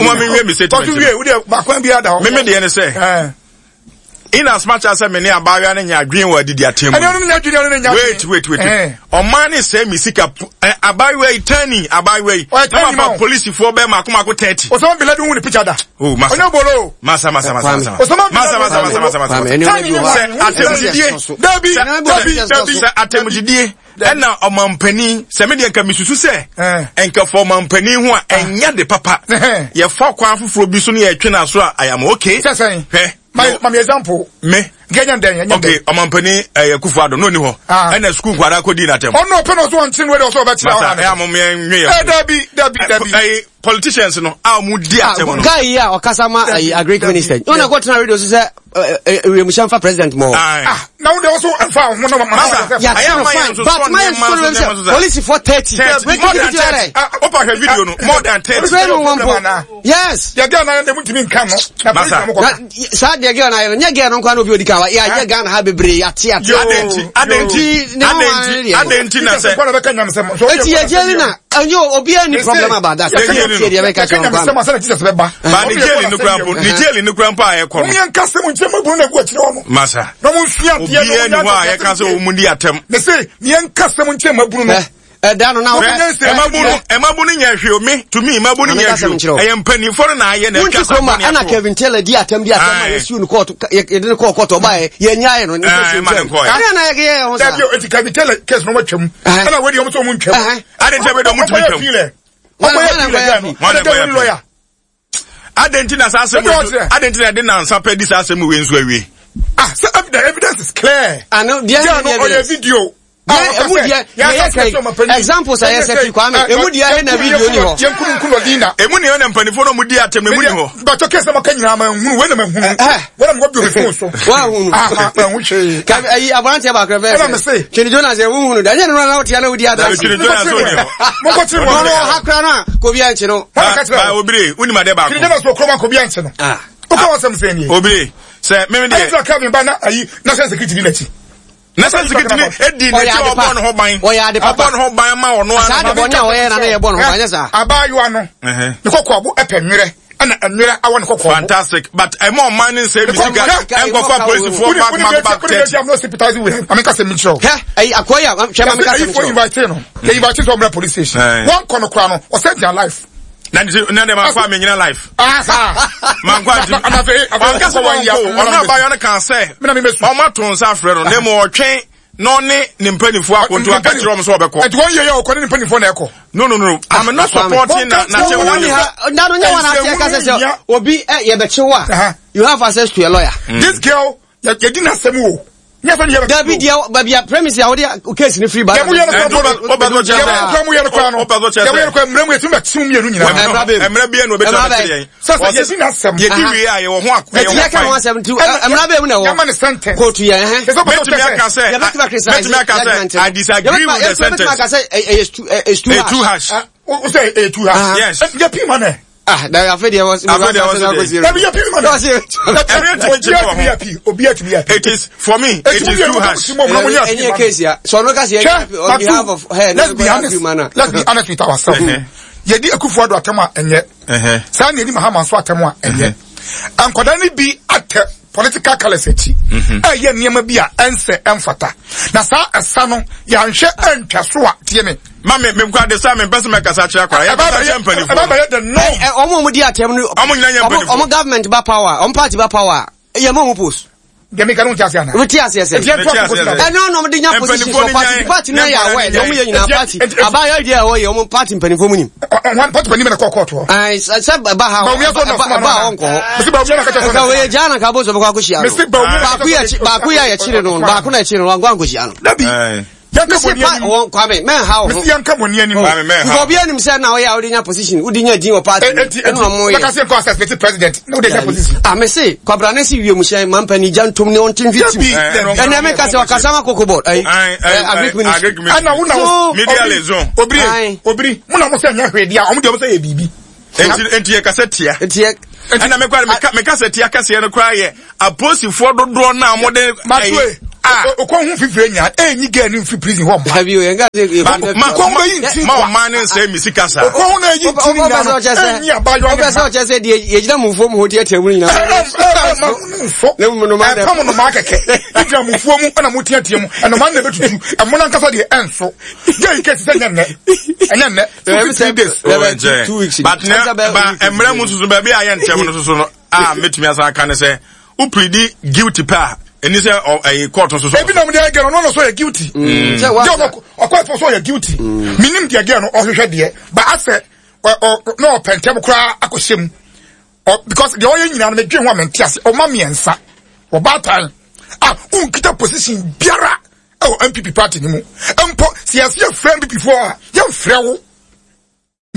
Speaker 2: maame nwie mi statement.
Speaker 1: Kɔsu wie wuli baako bi ada hɔ.
Speaker 2: Mímí deɛ ne sɛ. In as much as sɛ me ne abaayewa no nya adwene wɔ adidi atɛm mu.
Speaker 1: Ɛne ɔno nya adwene ɔno nya adwene.
Speaker 2: Wait wait wait. Eh. Ɔman ne sɛ mi sika eh, abaayewa yi tani abaayewa yi.
Speaker 1: Ɔyɛ tani ma
Speaker 2: o. Polisifoɔ bɛɛ mako mako 30.
Speaker 1: Osama bin Laden hu ne picture da.
Speaker 2: Oh masa.
Speaker 1: Ɔnyɛ bolo.
Speaker 2: Masa masa masa masa.
Speaker 1: Osama bin
Speaker 2: Laden masa masa masa masa masa.
Speaker 1: Tani ne
Speaker 2: sɛ atɛmudidie.
Speaker 1: Dabi dabi dabi.
Speaker 2: Sɛ atɛmudidie ɛna ɔmampanin sɛ me deɛ nka mesusu sɛ nka fa ɔmampanin ho a ɛnyɛ de papa yɛfa kwan foforɔ bi so ne yɛtwe no aso a I am okay.
Speaker 1: Sɛ sɛn.
Speaker 2: Hwɛ.
Speaker 1: My my example.
Speaker 2: Me.
Speaker 1: Genya den enya
Speaker 2: Okay, ɔmampanin ɛyɛ Kufu Addo no ni hɔ. Ɛna sukuu nkwadaa kɔ di n'atɛm.
Speaker 1: Ɔno ɔpɛ na ɔso ɔnkye no ɛde ɔso ɔbɛkyerɛ
Speaker 2: ɔha no. Masa ɛyà mo mìíràn nwe yɛ.
Speaker 1: Ɛ dabi dabi dabi.
Speaker 2: Ɛyi politicians no a wɔn di atɛm no.
Speaker 6: Guy yi a ɔkasa ma ɛyi agric minister. Ɔna kɔ tena radio so sɛ wiemhyɛn fa president mɔ.
Speaker 1: Ah na wo de ɔso ɛnfa ho na ma.
Speaker 2: Masa
Speaker 6: ɛyà ma yɛn nso sɔ nneɛma so nneɛma so. Polisi for 30.
Speaker 2: More than 30. Opa hwɛ video no more than 30.
Speaker 6: Yes.
Speaker 1: Deɛ girl na yɛ mu ntumi nka no. Na
Speaker 2: Masa.
Speaker 6: Na saa deɛ girl na yɛ no nyɛ girl no nkwa na obi odi kan wa yɛ ayɛ Ghana ha bebree ate ate.
Speaker 2: Adɛnti adɛnti adɛnti adɛnti na sɛ.
Speaker 6: Eti yɛ jail na ɛnyɛ obiara ni problem about that.
Speaker 2: Yɛ jail
Speaker 6: no. Deɛ bɛka kyerɛ nkwa.
Speaker 2: Ba ne jail no kura mpo ne jail no kura mpo a ɛkɔ no.
Speaker 1: Mo yɛn nkasa mu nkyɛn mu ebunu na egu akyire hɔ no.
Speaker 2: Masa.
Speaker 1: Na mo nsua adeɛ na
Speaker 2: Obiara ni hɔ a yɛka sɛ wɔn di atɛm.
Speaker 1: Mese yɛn nkasa mu nkyɛn mu ebunu no.
Speaker 6: Ɛda no na
Speaker 2: wo. Ɛmabu no ɛmabu no nyɛ hwee o me to me ɛmabu no nyɛ hwee o ɛyɛ mpanimfoɔ no na ayɛ na atwa sa bɔne
Speaker 6: ato. Ɛna Kevin Taylor di atɛm di atɛm a yɛsiw no kɔɔto yɛde no kɔɔ kɔɔto ɔbaa yɛ yɛnyaeɛ no.
Speaker 2: Ɛɛ ma ne nkɔɛ.
Speaker 6: Ɛna na yɛyɛ ho saa.
Speaker 1: Dabi o eti Kevin Taylor case no wɔatwam. Ɛna wɔde wɔn sɛ wɔn ntwam.
Speaker 2: Adi nti ɛbɛ dɛ wɔn tumi twam.
Speaker 1: Ɔkɔyɛ appeal ɛgya no. Ɛna kɛ lawyer.
Speaker 2: Adɛn nti na saa asɛm wei adɛn nti na ɛde nansa pɛ di saa asɛm wei nso awie?
Speaker 1: Ah, sɛ the evidence is clear.
Speaker 6: Ano deɛ
Speaker 1: deɛ no ɔyɛ video.
Speaker 6: Deɛ emu deɛ deɛ yɛ kɛn examples a yɛ sɛ ti kwame emu deɛ ɛna video ni hɔ.
Speaker 1: Yɛn kunu nkunu ɔdi na.
Speaker 2: Emu ni hɔ na mpanimfoɔ na ɔmo di atɛm emu ni hɔ.
Speaker 1: Bàtɔ kɛse ma ka nyinaa ma nhunu wei na ma nhunu. Wei na ma kɔ bi omi fon so.
Speaker 6: Wa hunu.
Speaker 1: Ah ma hu hwee.
Speaker 6: Kabi ayi aberanteɛ baako fɛ.
Speaker 1: Ɛna mi se.
Speaker 6: Twene Jonas yɛ huhunu da ɛnyɛ no na wotia na wodi adanse.
Speaker 2: Twene Jonas ò ní hɔ.
Speaker 1: Mo kɔ kyerɛ
Speaker 6: wɔn. Ɔno ɔha kura no a kobi ankye no.
Speaker 2: Ba obire wonim adeɛ baako.
Speaker 1: Twene Jonas wɔ kurom a kobi ankye no. Woka wɔn sɛm sɛn nie.
Speaker 2: Obire sɛ mímí deɛ.
Speaker 1: Ɛyɛ sɛ Kevin ba na ayi national security di n'akyi.
Speaker 2: National security ni edi n'akyi ɔbɔ ne ho ban.
Speaker 6: Ɔyɛ ade papa.
Speaker 2: Ɔbɔ ne ho ban ma ɔno ara.
Speaker 6: Saa de bɔ ne a ɔyɛ na ne yɛ bɔ ne ho ban nyɛ saa.
Speaker 1: Abaayewa no. Ne kɔkɔ abo ɛpɛ nwerɛ ɛna nwerɛ awɔ ne kɔkɔɔ.
Speaker 2: Fantastic but ɛmɔ ɔman ne nsɛm bi sika ɛnkɔfa polisifoɔ back back back 30.
Speaker 1: I'm not sympathizing with him. Maame kasa mi kyerɛw.
Speaker 6: Hɛ ɛyi akɔyi a hwɛ maame kasa mi kyerɛw.
Speaker 1: Ayi fo invite no. Yɛ invite sɛ ɔmra police station. Wɔn kɔ no kora no ɔsɛ their life.
Speaker 2: Na ne na de ma fa me nyina life.
Speaker 1: Ah saa.
Speaker 2: Ma nkɔ adi. Ɔnka sɛ wɔn kɔ ɔno abayɔ no kan sɛ. Ɔmo ato nsa afrɛ no na emu ɔtwɛn na ɔne ne mpanimfoɔ akonto aka kyerɛ wɔn sɛ ɔbɛkɔ.
Speaker 1: Ɛti wɔn yɛ yɛ ɔkɔ ne ne mpanimfoɔ na ɛkɔ.
Speaker 2: No no no I'm not supporting na na kyɛ
Speaker 6: wɔn ha. Na no nyɛ wɔn ase ɛka sɛ sɛ obi ɛ yɛ bɛ kye wo a you have access to a lawyer.
Speaker 1: This girl yɛ di n'asɛm o.
Speaker 6: Dabi deɛ baabi a premise a wɔde case ni firi ba.
Speaker 1: Yɛ mu yɛ no kura mu yɛ mu kura mu yɛ no kura no yɛ mu yɛ no kura mmerɛ mu yɛ tumi bɛ tiw mmienu nyinaa.
Speaker 2: Mmerɛ bi yɛ no obi tumi bɛ kyerɛ yɛn.
Speaker 1: Sɛ sɛ yɛ di n'asɛm.
Speaker 2: Yɛ di wie a yɛ wɔ ho akɔ yɛ
Speaker 6: ho kwan. Yɛ asɛm ti mmerɛ bɛ mu na ɛwɔ.
Speaker 1: Yɛ ma ne sentence.
Speaker 6: Kóòtù yɛ ɛhɛn.
Speaker 2: Mɛtumi aka sɛ mɛtumi aka sɛ I disagree with the sentence.
Speaker 6: Yɛ tumi aka sɛ ɛyɛ
Speaker 2: too harsh.
Speaker 1: O sɛ ɛyɛ too harsh.
Speaker 2: Yes.
Speaker 1: Yɛ pii ma nɛ.
Speaker 6: Ah, na afei deɛ wɔsi.
Speaker 2: Afei deɛ wɔsi de.
Speaker 1: Dabi yɛ pii ma nɛ.
Speaker 2: Ɛmi
Speaker 1: etumi yɛ pii. Obi etumi yɛ pii.
Speaker 2: It is for me. It is too harsh.
Speaker 6: Ɛnyɛ case ya. Sọ no kasi yɛ on behalf of her.
Speaker 1: Let's be honest. Let's be honest with ourselves. Yɛdi Akufo Addo atɛm a ɛnyɛ. Saa na yɛdi Mahama nso atɛm a ɛnyɛ. Nkwadaa no bi atɛ political colours akyi. Ɛyɛ nneɛma bi a ɛnsɛ ɛmfata. Na saa ɛsa no yɛanhwɛ ɛntwa so a tie me.
Speaker 2: Ma me me nkwa de sa me mpɛ sɛ mɛkasa kyerɛ akwara. Yɛ kasa kyerɛ mpanimfoɔ.
Speaker 1: Ɛba bɛyɛ the norm.
Speaker 6: Ɛ ɔmo a ɔmo di atɛm no.
Speaker 2: Ɔmo nyinaa nyɛ mpanimfoɔ.
Speaker 6: Ɔmo government ba power ɔmo party ba power yɛ mo ɔmo post.
Speaker 1: Deɛ meka no wote aseɛ anaa?
Speaker 6: Wote aseɛ sɛ?
Speaker 1: Nti yɛntoa so kɔsi da bɛn?
Speaker 6: Ɛno na ɔmo de nya position for party party no yɛ awɛ deɛ ɔmo yɛ nyinaa party abayɔ deɛ ɛwɔ yɛ ɔmo party mpanimfoɔ mu nim.
Speaker 1: Wɔn party panin bɛ na kɔɔ kɔɔto hɔ.
Speaker 6: Ayi sɛ ɛba ha
Speaker 1: Bawumia sɛ ɔna
Speaker 6: ɛba
Speaker 1: soma no
Speaker 6: ɛba
Speaker 1: anaa?
Speaker 6: ɔnkɔ hɔ.
Speaker 1: Mesi Bawumia na kɛkyɛ sɛ ɔna
Speaker 6: Nka wei gyaa na ka bɔ sɛ ɔbɛkɔ akɔhyia no.
Speaker 1: Mesi Bawumia na
Speaker 6: Baako yɛ akyi baako yɛ a yɛkyere no baako na ɛkyere no wankɔ ankɔhyia no.
Speaker 1: Dabi. Yɛnka
Speaker 6: Mesi
Speaker 1: bɔne
Speaker 6: pa
Speaker 1: anim.
Speaker 6: wɔn Kwame mɛnha wo ho.
Speaker 1: Mesi yɛnka bɔne anim.
Speaker 2: Kwame mɛnha.
Speaker 6: Nka obi anim sɛ na ɔyɛ a wode nya position wode nya din wɔ party
Speaker 1: Enti
Speaker 6: ɛna ɔmo
Speaker 1: enti
Speaker 6: yɛ.
Speaker 1: bɛka sɛ nkɔ assassinate president na wode nya position.
Speaker 6: Ah mese kwabrane si wiemhyɛn mampani gya ntom ne ɔnte mfi tim.
Speaker 1: Dabi. Dabi.
Speaker 6: Ɛnna meka sɛ ɔkasa ma koko board ayi agric ministry.
Speaker 1: Ɛna wo na
Speaker 6: So
Speaker 2: Media liaison.
Speaker 1: Obiri obiri mo na mo sɛ nyɛ hwee deɛ ɔmo deɛ ɔmo sɛ yɛ biribi.
Speaker 2: Enti yɛ kasa tia.
Speaker 6: Enti yɛ.
Speaker 2: Ɛna mekora meka sɛ tia kɛseɛ no koraa yɛ apolisifoɔ dodoɔ no a wɔde.
Speaker 1: Matue okɔ ho fifire nya enyi gɛɛ ne nfi prison hɔ mma.
Speaker 6: Dabi o yɛn ka se.
Speaker 1: Kɔn bɛ yi nti
Speaker 2: ma ɔman ne nsɛn mi sika saa.
Speaker 1: Okɔ ho na eyi nti ni nyina no enyi abayewa ne
Speaker 6: mma. Ɔpɛ sɛ ɔkyɛ sɛ deɛ yɛgyina mufuo mu hɔ tiatia mu nyinaa.
Speaker 1: Ɛmfa mo nnomaa kɛkɛ. Egyina mufuo mu ɛna mo tiatia mu ɛnnomaa na ebetutu ɛmo nankasa deɛ ɛnso. Gɛɛ yi kɛse sɛ ɛnyɛ nnɛ ɛnyɛ nnɛ. 2 days.
Speaker 2: Oh, 2 weeks. But na ba mmerɛ mu soso baabi a yɛ ntɛm no soso no a mɛtumi asan aka ne sɛ wo plead guilty pɛ a ɛni sɛ ɛyi court soso.
Speaker 1: Ebi na mo de agɛ no ɔno so yɛ guilty. Jɛ ɔkɔ ɛfɔ so yɛ guilty. Minim deɛ gɛ no ɔhwehwɛ deɛ ba asɛ ɔ na ɔpɛ ntɛm koraa akɔhyɛ mu because deɛ ɔyɛ nyinaa no medwe ho a mente ase. Ɔma mmiɛnsa ɔbaatan a wonkita position biara ɛwɔ NPP party no mu mpo. Sɛ yɛsɛ yɛfrɛ NPP foɔ a, yɛmfrɛ wo.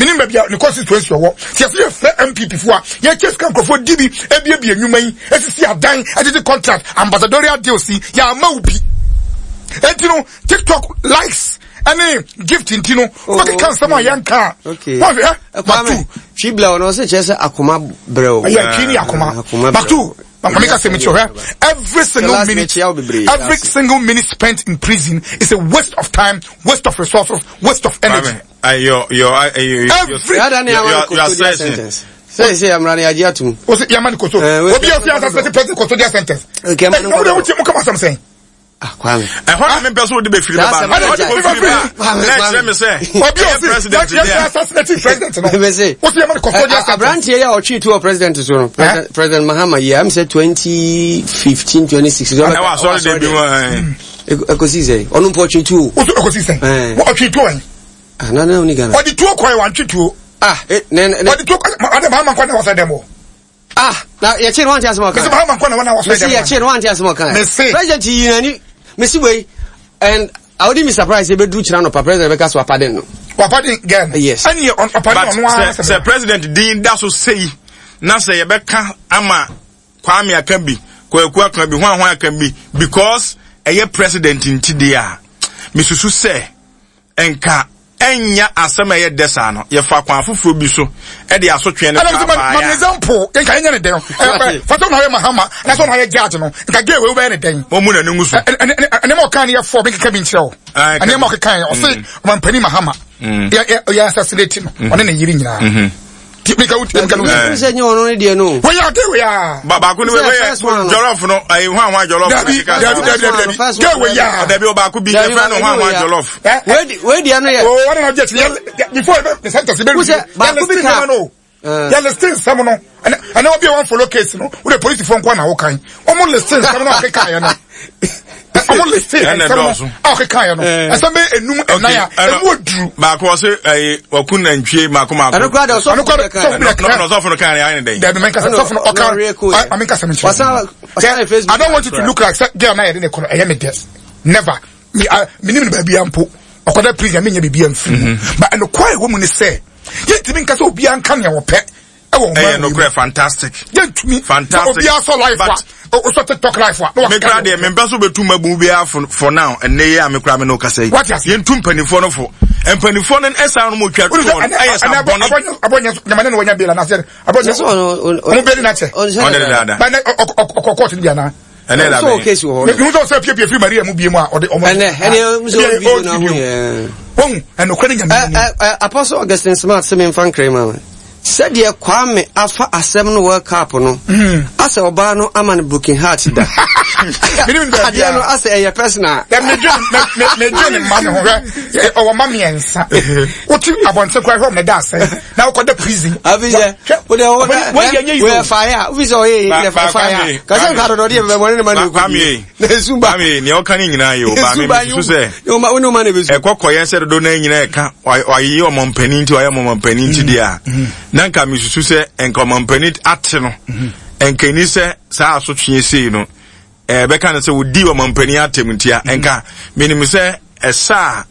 Speaker 1: Menim baabi a ne constituency ɔwɔ. Sɛ yɛsɛ yɛfrɛ NPP foɔ a, yɛkyɛ sika nkurɔfoɔ di bi ebiebie nnwuma yi, esisi adan, agyegye contract, ambassadorial deals yi, yɛama wo bi. Enti no TikTok likes ɛne gift nti no wobɛkeka nsɛm a yɛnka a wɔhwɛ.
Speaker 6: Batu twi blɛ ɔno ɔsɛ kyerɛ sɛ akoma brɛ o.
Speaker 1: Ɛyɛ twi ne akoma. Batu Mami ka sɛ mekyerɛ, every single minute, every single minute spent in prison is a waste of time, waste of resources, waste of energy.
Speaker 2: Your
Speaker 1: Every
Speaker 2: your sentence.
Speaker 6: Sɛ yamra ne yagye atum.
Speaker 1: O sɛ yamma ne koto. Obi a ofi asase president custodial sentence.
Speaker 6: Okay,
Speaker 1: ɛna o de o ti mu kama asɛm sɛn.
Speaker 6: Ah, Kwame.
Speaker 2: Ɛhɔ na mempɛ sɛ wode bɛfiri bɛba no. Wode bɛfiri ba na ɛkyerɛ me sɛ
Speaker 1: obi a ofi
Speaker 2: president
Speaker 1: yɛ
Speaker 2: deɛ.
Speaker 1: Assassinate president no.
Speaker 6: Mese.
Speaker 1: O sɛ yamma ne custodial sentence.
Speaker 6: Aberanteɛ yi a ɔtwee tu wɔ president so no, President Mahama yi, am sɛ 2015, 2016.
Speaker 2: Ɛwɔ asɔre de bi mu ɛ.
Speaker 6: Ɛkɔsi sɛ ɔno mpo ɔtwe tuo.
Speaker 1: O sɛ ɔkɔsi sɛn? Ɔtwe tuo ɛn.
Speaker 6: Ah, na na ɔni Ghana.
Speaker 1: Ɔde tuo kɔɛ, wantwe tuo.
Speaker 6: Ah, eh, ne ne.
Speaker 1: Ɔde tuo kɔɛ, ɔde Mahama nkɔ na wɔsɛ dɛm wɔ.
Speaker 6: Ah, na yɛkye no wante asɛm ɔka.
Speaker 1: Mese Mahama nkɔ na wɔn na wɔsɛ
Speaker 6: Mese
Speaker 1: dɛm.
Speaker 6: yɛkye no wante asɛm ɔka.
Speaker 1: Mese.
Speaker 6: President yi nani, mese wei, and I wouldn't be surprised if ebeduru kyerɛ anɔpa president bɛka so apaden no.
Speaker 1: Wapaden girl no.
Speaker 6: Yes.
Speaker 1: Ɛne yɛ ɔpaden
Speaker 2: But
Speaker 1: ɔno ara
Speaker 2: sɛ sɛ president din da so sei na sɛ yɛbɛka ama Kwame aka bi, Kwaku aka bi, hwan hwan aka bi, because ɛyɛ president nti deɛ a, mesusu sɛ nka ɛnya asɛm a ɛyɛ dɛ saa no, yɛfa kwan foforɔ bi so ɛde asotwe no
Speaker 1: ɛna
Speaker 2: saa
Speaker 1: ma ma
Speaker 2: baeɛ a
Speaker 1: example nka yɛnyɛ ne dɛn fata na ɔyɛ Mahama na sɛ ɔna ɔyɛ judge no, nka gay wei wobɛyɛ ne dɛn?
Speaker 2: Wɔn mu n'ani ngu so.
Speaker 1: Ɛnɛma ɔka ne yɛ fɔ bi keka bi nkyerɛ wo.
Speaker 2: Ah, ɛka
Speaker 1: ɛnɛma ɔkeka yɛ ɔse ɔmampani Mahama yɛ assassinate no, ɔne ne yere nyinaa. Ti mi ka wo ti mi ka no.
Speaker 6: Sɛ sɛ nyɛ ɔno ne deɛ no.
Speaker 1: Wɔyɛ ade wei a.
Speaker 2: Ba baako ni
Speaker 6: Sɛ
Speaker 2: wei
Speaker 6: first one
Speaker 2: yɛ
Speaker 6: no.
Speaker 2: jollof no, ayi hwan hwan jollof.
Speaker 1: Dabi, dabi, dabi, dabi, dabi.
Speaker 6: First
Speaker 1: Gay
Speaker 6: one.
Speaker 1: wei a.
Speaker 2: Dabi, ɔbaako bi
Speaker 6: Dabi,
Speaker 2: yɛfrɛ no
Speaker 6: baako
Speaker 2: hwan
Speaker 6: wei
Speaker 2: hwan
Speaker 6: a.
Speaker 2: jollof.
Speaker 6: Wei deɛ no yɛ.
Speaker 1: O wɔn na ɔgye ti yɛ before the sentence bɛ
Speaker 6: Wosɛ, baako bi ka-
Speaker 1: no. Yɛ listing nsɛm no, ɛnɛ obi a wɔn follow case no, wode polisifoɔ nko na wɔkan wɔn listing nsɛm no a ɔkeka yɛ no, wɔn listing
Speaker 2: Ɛna
Speaker 1: nsɛm no
Speaker 2: ɛdɔɔso.
Speaker 1: a ɔkeka yɛ no, ɛsɛm bɛ enum ɛnan a
Speaker 2: ɛna-
Speaker 1: emu oduru.
Speaker 2: Baako ɔse ɛyi ɔku nantwie mako mako.
Speaker 6: Ɛno koraa deɛ ɔsɔfo
Speaker 1: Ɛno koraa
Speaker 6: no
Speaker 1: sɔfo bi na
Speaker 2: Na na ɔsɔfo no kan yɛ ayɛ ne dɛn?
Speaker 1: Dabi, mɛnka sɛ sɔfo no ɔka
Speaker 6: Ɔno ɔreɛ kɔ yɛ.
Speaker 1: Maame nkasa mi nkyerɛ.
Speaker 6: Wasan yɛ Facebook.
Speaker 1: I don't want you to look like sɛ girl na yɛde ne kɔ no ɛyɛ me dɛ. Never. Me I me nim no baabi ampo. Ɔkɔda prison me nya biribi amfiri mu. But ɛnokware ɛwɔ mu ne sɛ yɛntumi nka sɛ obiara nka nea wɔpɛ ɛwɔ
Speaker 2: Ɛyɛ
Speaker 1: ɔman wei mu.
Speaker 2: nokorɛ, fantastic.
Speaker 1: Yɛntumi sɛ
Speaker 2: Fantastic.
Speaker 1: obiara sɔ life a
Speaker 2: But-
Speaker 1: ɔsɔ TikTok life a na
Speaker 2: Me
Speaker 1: waka
Speaker 2: kura
Speaker 1: nea
Speaker 2: deɛ
Speaker 1: wɔpɛ.
Speaker 2: mempɛ so bɛtu mabu biara for now. Ɛnnɛ yi a me kura me ne wo kasa yi.
Speaker 1: Wate ase?
Speaker 2: Yɛntu mpanimfoɔ no fo. Mpanimfoɔ no ɛsan no mu twa
Speaker 1: Wode sɛ
Speaker 2: toɔ no
Speaker 1: ɛnɛ
Speaker 2: ɛyɛ sa
Speaker 1: ɛnɛ
Speaker 2: bɔne.
Speaker 1: abɔnyɛ nyamane na wɔnya bela na sɛ abɔnyɛ
Speaker 6: Sɛ ɔno
Speaker 1: ɔmo beli na kyɛ.
Speaker 2: Ɔne dada.
Speaker 1: Ba ɛnɛ ɔkɔ court no bi anaa?
Speaker 2: Ɛnɛ da
Speaker 6: Sɛ
Speaker 2: bɛn.
Speaker 6: case wɔ hɔ.
Speaker 1: Mehu sɛ ɔsɛ piepie firi Maria mu bie mu a ɔde ɔmo.
Speaker 6: Ɛnɛ ɛnɛ nso
Speaker 1: Ebi
Speaker 6: video
Speaker 1: old
Speaker 6: na ho
Speaker 1: video.
Speaker 6: yɛ.
Speaker 1: Wɔn ɛnokora ne Nyame ni.
Speaker 6: Apostle Augustine Smart sɛ memfa nkra ma me. Sɛdeɛ Kwame afa asɛm no World Cup no, asɛ ɔbaa no ama no broken heart da.
Speaker 1: Menim no baabi
Speaker 6: Adeɛ
Speaker 1: a.
Speaker 6: no asɛ ɛyɛ personal.
Speaker 1: Dɛ medwe ne mma ne ho hwɛ, ɔwɔ mma mmiɛnsa. Wote abɔnten koraa hwɛ ɔmo ne da asɛn na wokɔda prison.
Speaker 6: Abi sɛ wode wo
Speaker 1: Ɔbɛni- wɔn yɛ nyɛ yi
Speaker 6: woyɛ
Speaker 1: o.
Speaker 6: fire a wofi sɛ ɔyɛ yɛ fire
Speaker 2: Kwame,
Speaker 6: kasɛ nka dɔdɔ deɛ bɛbɛ ne ma na ɛkɔ
Speaker 2: Kwame,
Speaker 6: na esu ba.
Speaker 2: Kwame, nea ɔka ne nyinaa yɛ o. Ba
Speaker 6: Esu
Speaker 2: me
Speaker 6: ba
Speaker 2: mesusu sɛ
Speaker 6: yi wo ne ma na ɛbɛsu.
Speaker 2: ɛkɔ kɔyɛ sɛ dodo no nyinaa ɛka wayeyɛ ɔmampanin nti wayɛ ɔmampanin nti deɛ a, na nka mesusu sɛ nka ɔmampanin ate no nka ɛni sɛ saa asotwe sei no ɛbɛka no sɛ wodi ɔmampanin atɛm nti a, nka menim sɛ ɛsa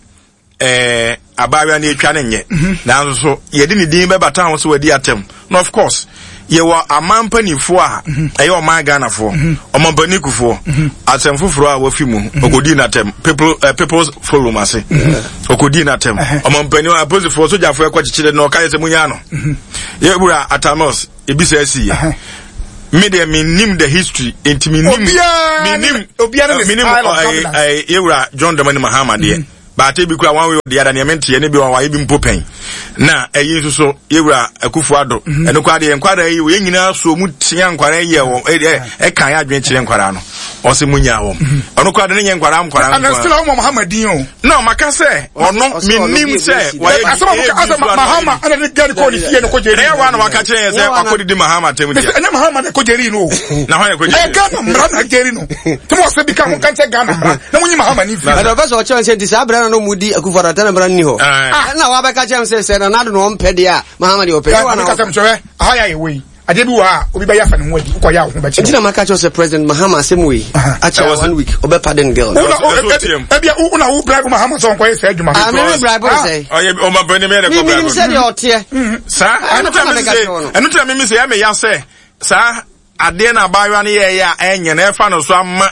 Speaker 2: a abaayewa no atwa no nyɛ, nanso so yɛde ne din bɛbata ho sɛ wadi atɛm na of course. Yɛwɔ aman mpanimfoɔ a ɛyɛ ɔman Ghanafoɔ, ɔmampanin Kufuor, asɛm foforɔ a wafi mu, ɔkɔdii n'atɛm, people, eh, People's Forum ase, ɔkɔdii n'atɛm. Ɔmampanin apolisifoɔ, sogyafoɔ ɛkɔ kyekyere no, ɔka yɛ sɛ munyaa no. Yɛwura Atta Mills, ebi sɛ asi yɛ. Me deɛ menim the history, nti menim, menim, menim, yɛwura John Dramani Mahama deɛ. But ebi kura one way or the other nea mente ne bi wa wayɛ bi mpo pɛn. Na ɛyi nso so yɛwura Akufo Addo. Mhm. Ɛno koraa deɛ nkwadaa yi yɛn nyinaa so mu tea nkwadaa yi yɛ wɔn ɛka yɛ adwene kyerɛ nkwadaa no. Ɔsɛ mu nyaa wɔn. Mhm. Ɔno koraa de ne nyɛ nkwadaa nkwadaa
Speaker 1: nkwadaa. Ɛna still ɔmo Mahama din o.
Speaker 2: Na ɔmaka sɛ ɔno menim sɛ wayɛ
Speaker 1: bi. Asɛm a ɔmo asɛ Mahama ɛna ne gari kɔ ne fie no kɔ jeri.
Speaker 2: Ɛyɛ wa na waka kyerɛ yɛn sɛ wakɔ didi Mahama tɛm deɛ.
Speaker 1: Ɛnyɛ Mahama na kɔ jeri no o.
Speaker 2: Na hɔn na kɔ jeri.
Speaker 1: Ɛyɛ Ghana mmara na jeri no. Tí mo sɛ bi ka mo nka nkyɛn Ghana mmara na mo nyi Mahama ni fi.
Speaker 6: Ɛna ɔpɛ sɛ ɔkyerɛ sɛ nti saa berɛ no na ɔmu di Akufo Addo atɛn mmara nni hɔ. Ɛna wabɛka kyerɛ m sɛ sɛ Nana Addo na ɔmpɛ deɛ a Mahama deɛ ɔpɛ.
Speaker 1: Ɛna meka sɛ mkyerɛ aha yɛ ayɛ wei adeɛ bi wɔ ha obi bɛyɛ afa ne ho adi wokɔyɛ a wo ho bɛkyerɛ.
Speaker 6: Nti na maka kyerɛ sɛ President Mahama asɛm wei akyɛ one week ɔbɛ pardon girl.
Speaker 1: Ebia wo na wo bribe Mahama sɛ ɔnkɔyɛ saa adwuma.
Speaker 6: Ah, me me bribe sɛ.
Speaker 2: Ɔyɛ ɔmampanin mi yɛ dɛ kɔ bribe.
Speaker 6: Menim sɛ deɛ ɔteɛ.
Speaker 2: Saa ɛno tɛ na mimi sɛ ɛmɛ ya sɛ saa Adeɛ na abaayewa no yɛɛyɛ a ɛnyɛ na ɛfa no so ama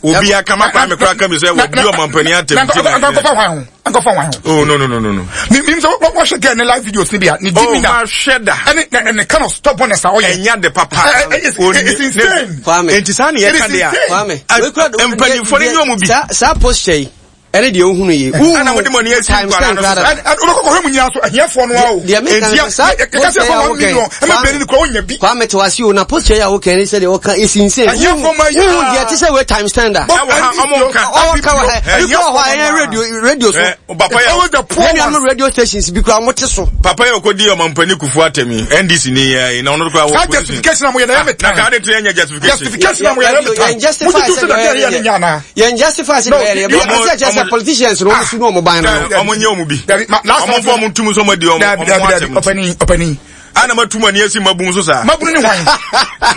Speaker 2: obi aka ma kwame kora ka mi sɛ wɔdi ɔmampanin atɛm ti
Speaker 1: na nkɔfa hwan ho nkɔfa hwan ho
Speaker 2: oh no no no no no
Speaker 1: mi mi sɛ wɔhwɛ girl ne live videos ni bi a ne di mi na
Speaker 2: oh mahwɛ da
Speaker 1: ɛne ne ne kind of stubbornness a ɔyɛ
Speaker 2: ɛnya de papa
Speaker 1: it's insane
Speaker 6: Kwame
Speaker 2: nti saa ne yɛka de a mpanyinfoɔ ne nyɛ ɔmo bi
Speaker 6: saa posture yi ɛne deɛ wohunu yi
Speaker 2: ɛna mode mo ani asi nkwadaa no so
Speaker 1: wobɛkɔkɔhwɛ mu nyinaa so ahiafoɔ no a o
Speaker 6: deɛ meka no saa
Speaker 1: yɛka sɛ ɛfa 1 million ɛma bɛni no kora wonya bi
Speaker 6: Kwame te wase o na posture yi a woka ne sɛdeɛ wɔka ɛsi nsɛn
Speaker 1: ahiafoɔ ma yi
Speaker 6: wohu deɛ te sɛ wei times ten da
Speaker 2: ɛwɔ ha ɔmo nka
Speaker 6: ɔwɔ ka wɔ ha ebi kora wɔ hɔ a ɛyɛ radio radio so
Speaker 2: papa yɛ
Speaker 1: always the poor
Speaker 6: yɛn nuanom
Speaker 1: ones
Speaker 6: radio stations bi kora wɔte so
Speaker 2: papa yɛ ɔkɔdi ɔmampanin kufuo atɛm yi ndc ni yɛ na ɔno kora wɔ
Speaker 1: saa justification a moyɛ na ɛyɛ me
Speaker 2: na
Speaker 1: tan
Speaker 2: kaa de to yɛ nyɛ justification
Speaker 1: justification a moyɛ na ɛyɛ me tan
Speaker 6: yɛn justify
Speaker 1: motutu
Speaker 6: sɛ
Speaker 1: sɛ
Speaker 6: deɛ
Speaker 1: deɛ ɛyɛ no nyɛ anaa
Speaker 6: yɛn justify sɛ
Speaker 1: No,
Speaker 6: deɛ ɛyɛ
Speaker 1: you-
Speaker 6: yɛn sɛ kyerɛ sɛ
Speaker 2: ɔmo-
Speaker 6: politicians no wɔn su no wɔn ban no
Speaker 2: ɔmo nyɛ ɔmo bi
Speaker 1: Dabi, ma- last
Speaker 2: ɔmo
Speaker 1: time-
Speaker 2: fɔ ɔmo ntum nso ɔmo adi ɔmo
Speaker 1: dabi
Speaker 2: ɔmo
Speaker 1: dabi dabi
Speaker 2: atɛm
Speaker 1: ɔpani ɔpani
Speaker 2: ana ma tum ani asi mabun so saa
Speaker 1: mabunu ne hwan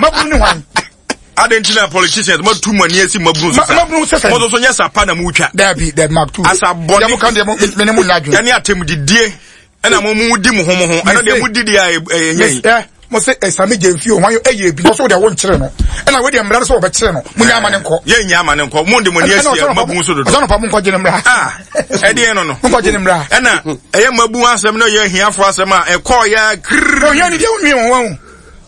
Speaker 1: mabunu ne hwan
Speaker 2: adi nti na politicians ma tum ani asi mabun so
Speaker 1: Ma-
Speaker 2: saa
Speaker 1: mabunu sɛ sɛn?
Speaker 2: mo nso so nyɛ sapa na mo twa
Speaker 1: dabi dabi mark two
Speaker 2: Asa bɔne.
Speaker 1: deɛ mo ka deɛ mo me ne mo nya adwene
Speaker 2: ɛne atɛm didie ɛna mo mu di mo ho mo ho ɛno deɛ mo di deɛ a ɛnyɛ yi
Speaker 1: ɛ mo se ɛsami gye nfi o hwan ɛyɛ ebi ɔsɔ deɛ wɔnkyerɛ no ɛna wo deɛ mmara no sɛ wɔbɛkyerɛ no mo nya ama ne nkɔ
Speaker 2: yɛ nya ama ne nkɔ mo de mo ani asi mabun so dodo
Speaker 1: ɔsɔn pa mo nkɔ gye ne mmara
Speaker 2: ah ɛdeɛ no no
Speaker 1: mo nkɔ gye ne mmara
Speaker 2: ɛna ɛyɛ mabun asɛm na ɛyɛ ahiafo asɛm a ɛkɔɔ yɛ kiriri
Speaker 1: ohia ni deɛ wonwie wɔn wɔn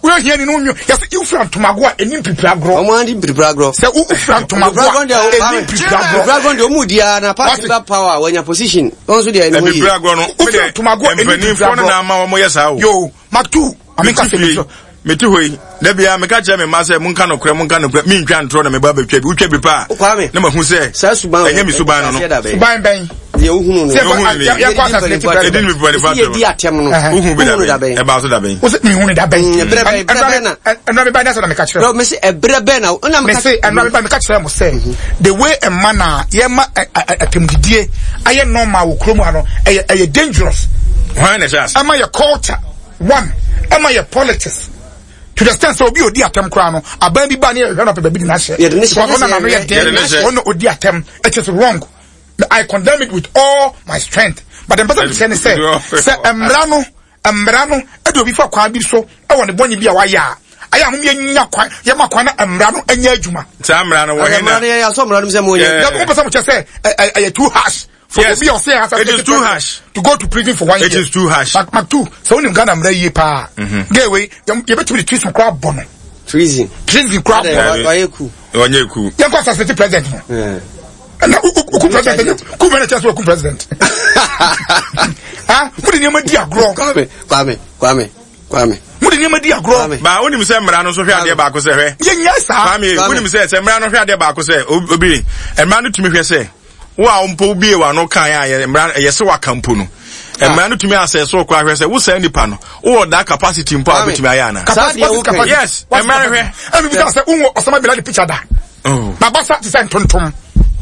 Speaker 1: wo ohia ni no wonwie yɛsɛ wofura ntomago a ɛni mpipiri agorɔ
Speaker 6: wɔn adi mpiripiri agorɔ
Speaker 1: sɛ wofura ntomago a ɛni mpipiri agorɔ
Speaker 6: mpiripiri agorɔ deɛ wɔn di ara na party ba power wɔnya position wɔn nso deɛ ɛni ho yie
Speaker 2: mpiripiri agorɔ no
Speaker 1: wofura ntomago a ɛni mpiripiri
Speaker 2: mpanimfoɔ no
Speaker 1: agorɔ
Speaker 2: na ama wɔn yɛ saa o
Speaker 1: yo mark two ame nka sɛ mi so
Speaker 2: mete hɔ yi da bia meka kyerɛ me mma sɛ monka nokorɛ monka nokorɛ mentwa ntorɔ na meba bɛtwa bi wotwa bi paa
Speaker 6: Kwame
Speaker 2: na mahu sɛ
Speaker 6: saa suban
Speaker 2: ɛnyɛ me suban no no
Speaker 1: suban bɛn
Speaker 6: deɛ wohunu no
Speaker 1: Sɛ yɛkɔ asase
Speaker 2: Yɛdi ne mpanimfoɔ
Speaker 6: yɛdi atɛm no
Speaker 2: wohu bi
Speaker 6: wohunu
Speaker 2: da bɛn ɛbaa so da bɛn
Speaker 1: wo sɛ mehu ne da bɛn
Speaker 6: Mm, ɛberɛ bɛn- ɛberɛ bɛn na-
Speaker 1: ɛnura mi ba ne sɛ na meka kyerɛ
Speaker 6: No, mese ɛberɛ bɛn na ɛna meka
Speaker 1: mese ɛnura mi ba meka kyerɛ mo sɛ the way ɛma na yɛma atɛmdidie ayɛ normal wɔ kurom ha no ɛyɛ ɛyɛ dangerous
Speaker 2: hwan na ɛhyɛ ase
Speaker 1: ɛma yɛ culture one ɛma yɛ politics to the extent sɛ obi odi atɛm koraa no aban bi ba ne yɛhwɛ no pɛ baabi de n'ahyɛ
Speaker 6: Yɛde ne hyɛ,
Speaker 1: because ɔna n'ano yɛ
Speaker 2: Yɛde ne
Speaker 1: den
Speaker 2: hyɛ.
Speaker 1: ɔna odi atɛm it is wrong I condemn it with all my strength but mpɛ sɛ mekyerɛ ne sɛ sɛ mmara no mmara no ɛde obi fa kwan bi so ɛwɔ ne bɔne bi a wayɛ a ayɛ ahom yɛnya kwan yɛma kwan na mmara no nyɛ adwuma
Speaker 2: saa mmara no wɔ
Speaker 6: Ɛyɛ
Speaker 2: he
Speaker 6: mmara
Speaker 2: na
Speaker 6: no yɛ asɔ mmara no mu sɛ mo nyɛ
Speaker 2: Yeah.
Speaker 1: wopɛ sɛ mokyɛ sɛ ɛyɛ too harsh for
Speaker 2: Yes.
Speaker 1: obi a ɔsɛ
Speaker 2: It is too harsh.
Speaker 1: to go to prison for one
Speaker 2: It
Speaker 1: year
Speaker 2: is too harsh.
Speaker 1: Mark Mark two sɛ wonim Ghana mmara yie paa gay wei yɛbɛtumi de treason koraa bɔ no
Speaker 6: treason
Speaker 1: treason koraa bɔ
Speaker 2: Dabi.
Speaker 6: wayɛ ku
Speaker 2: ɔnyɛ ku
Speaker 1: yɛnkɔ assassinate president no
Speaker 6: Yeah.
Speaker 1: ɛna woku president ku bɛ na kyerɛ sɛ waku president ah mode nneɛma di agorɔ
Speaker 6: Kwame Kwame Kwame Kwame
Speaker 1: mode nneɛma di agorɔ
Speaker 6: Kwame.
Speaker 2: ba wonim sɛ mmara no nso hwɛ adeɛ baako sɛ hwɛ
Speaker 1: yɛnyɛ saa
Speaker 2: Kwame
Speaker 6: Kwame.
Speaker 2: wonim sɛ sɛ mmara no hwɛ adeɛ baako sɛ obi mmara no tumi hwɛ sɛ wo a mpo wobie w'ano kan a yɛ mmara ɛyɛ sɛ waka mpo no mmara no tumi asɛ so koraa hwɛ sɛ wo saa nipa no wowɔ that capacity mpo a
Speaker 6: Kwame.
Speaker 2: wobɛtumi ayɛ anaa
Speaker 6: Saa deɛ
Speaker 1: What's
Speaker 6: woka yi.
Speaker 1: capacity?
Speaker 2: Yes,
Speaker 1: What's
Speaker 2: mmara
Speaker 1: capacity?
Speaker 2: hwɛ.
Speaker 1: Ɛna bisa sɛ wowɔ Osama bin Laden picture da
Speaker 2: Oh.
Speaker 1: nabasa te sɛ ntontom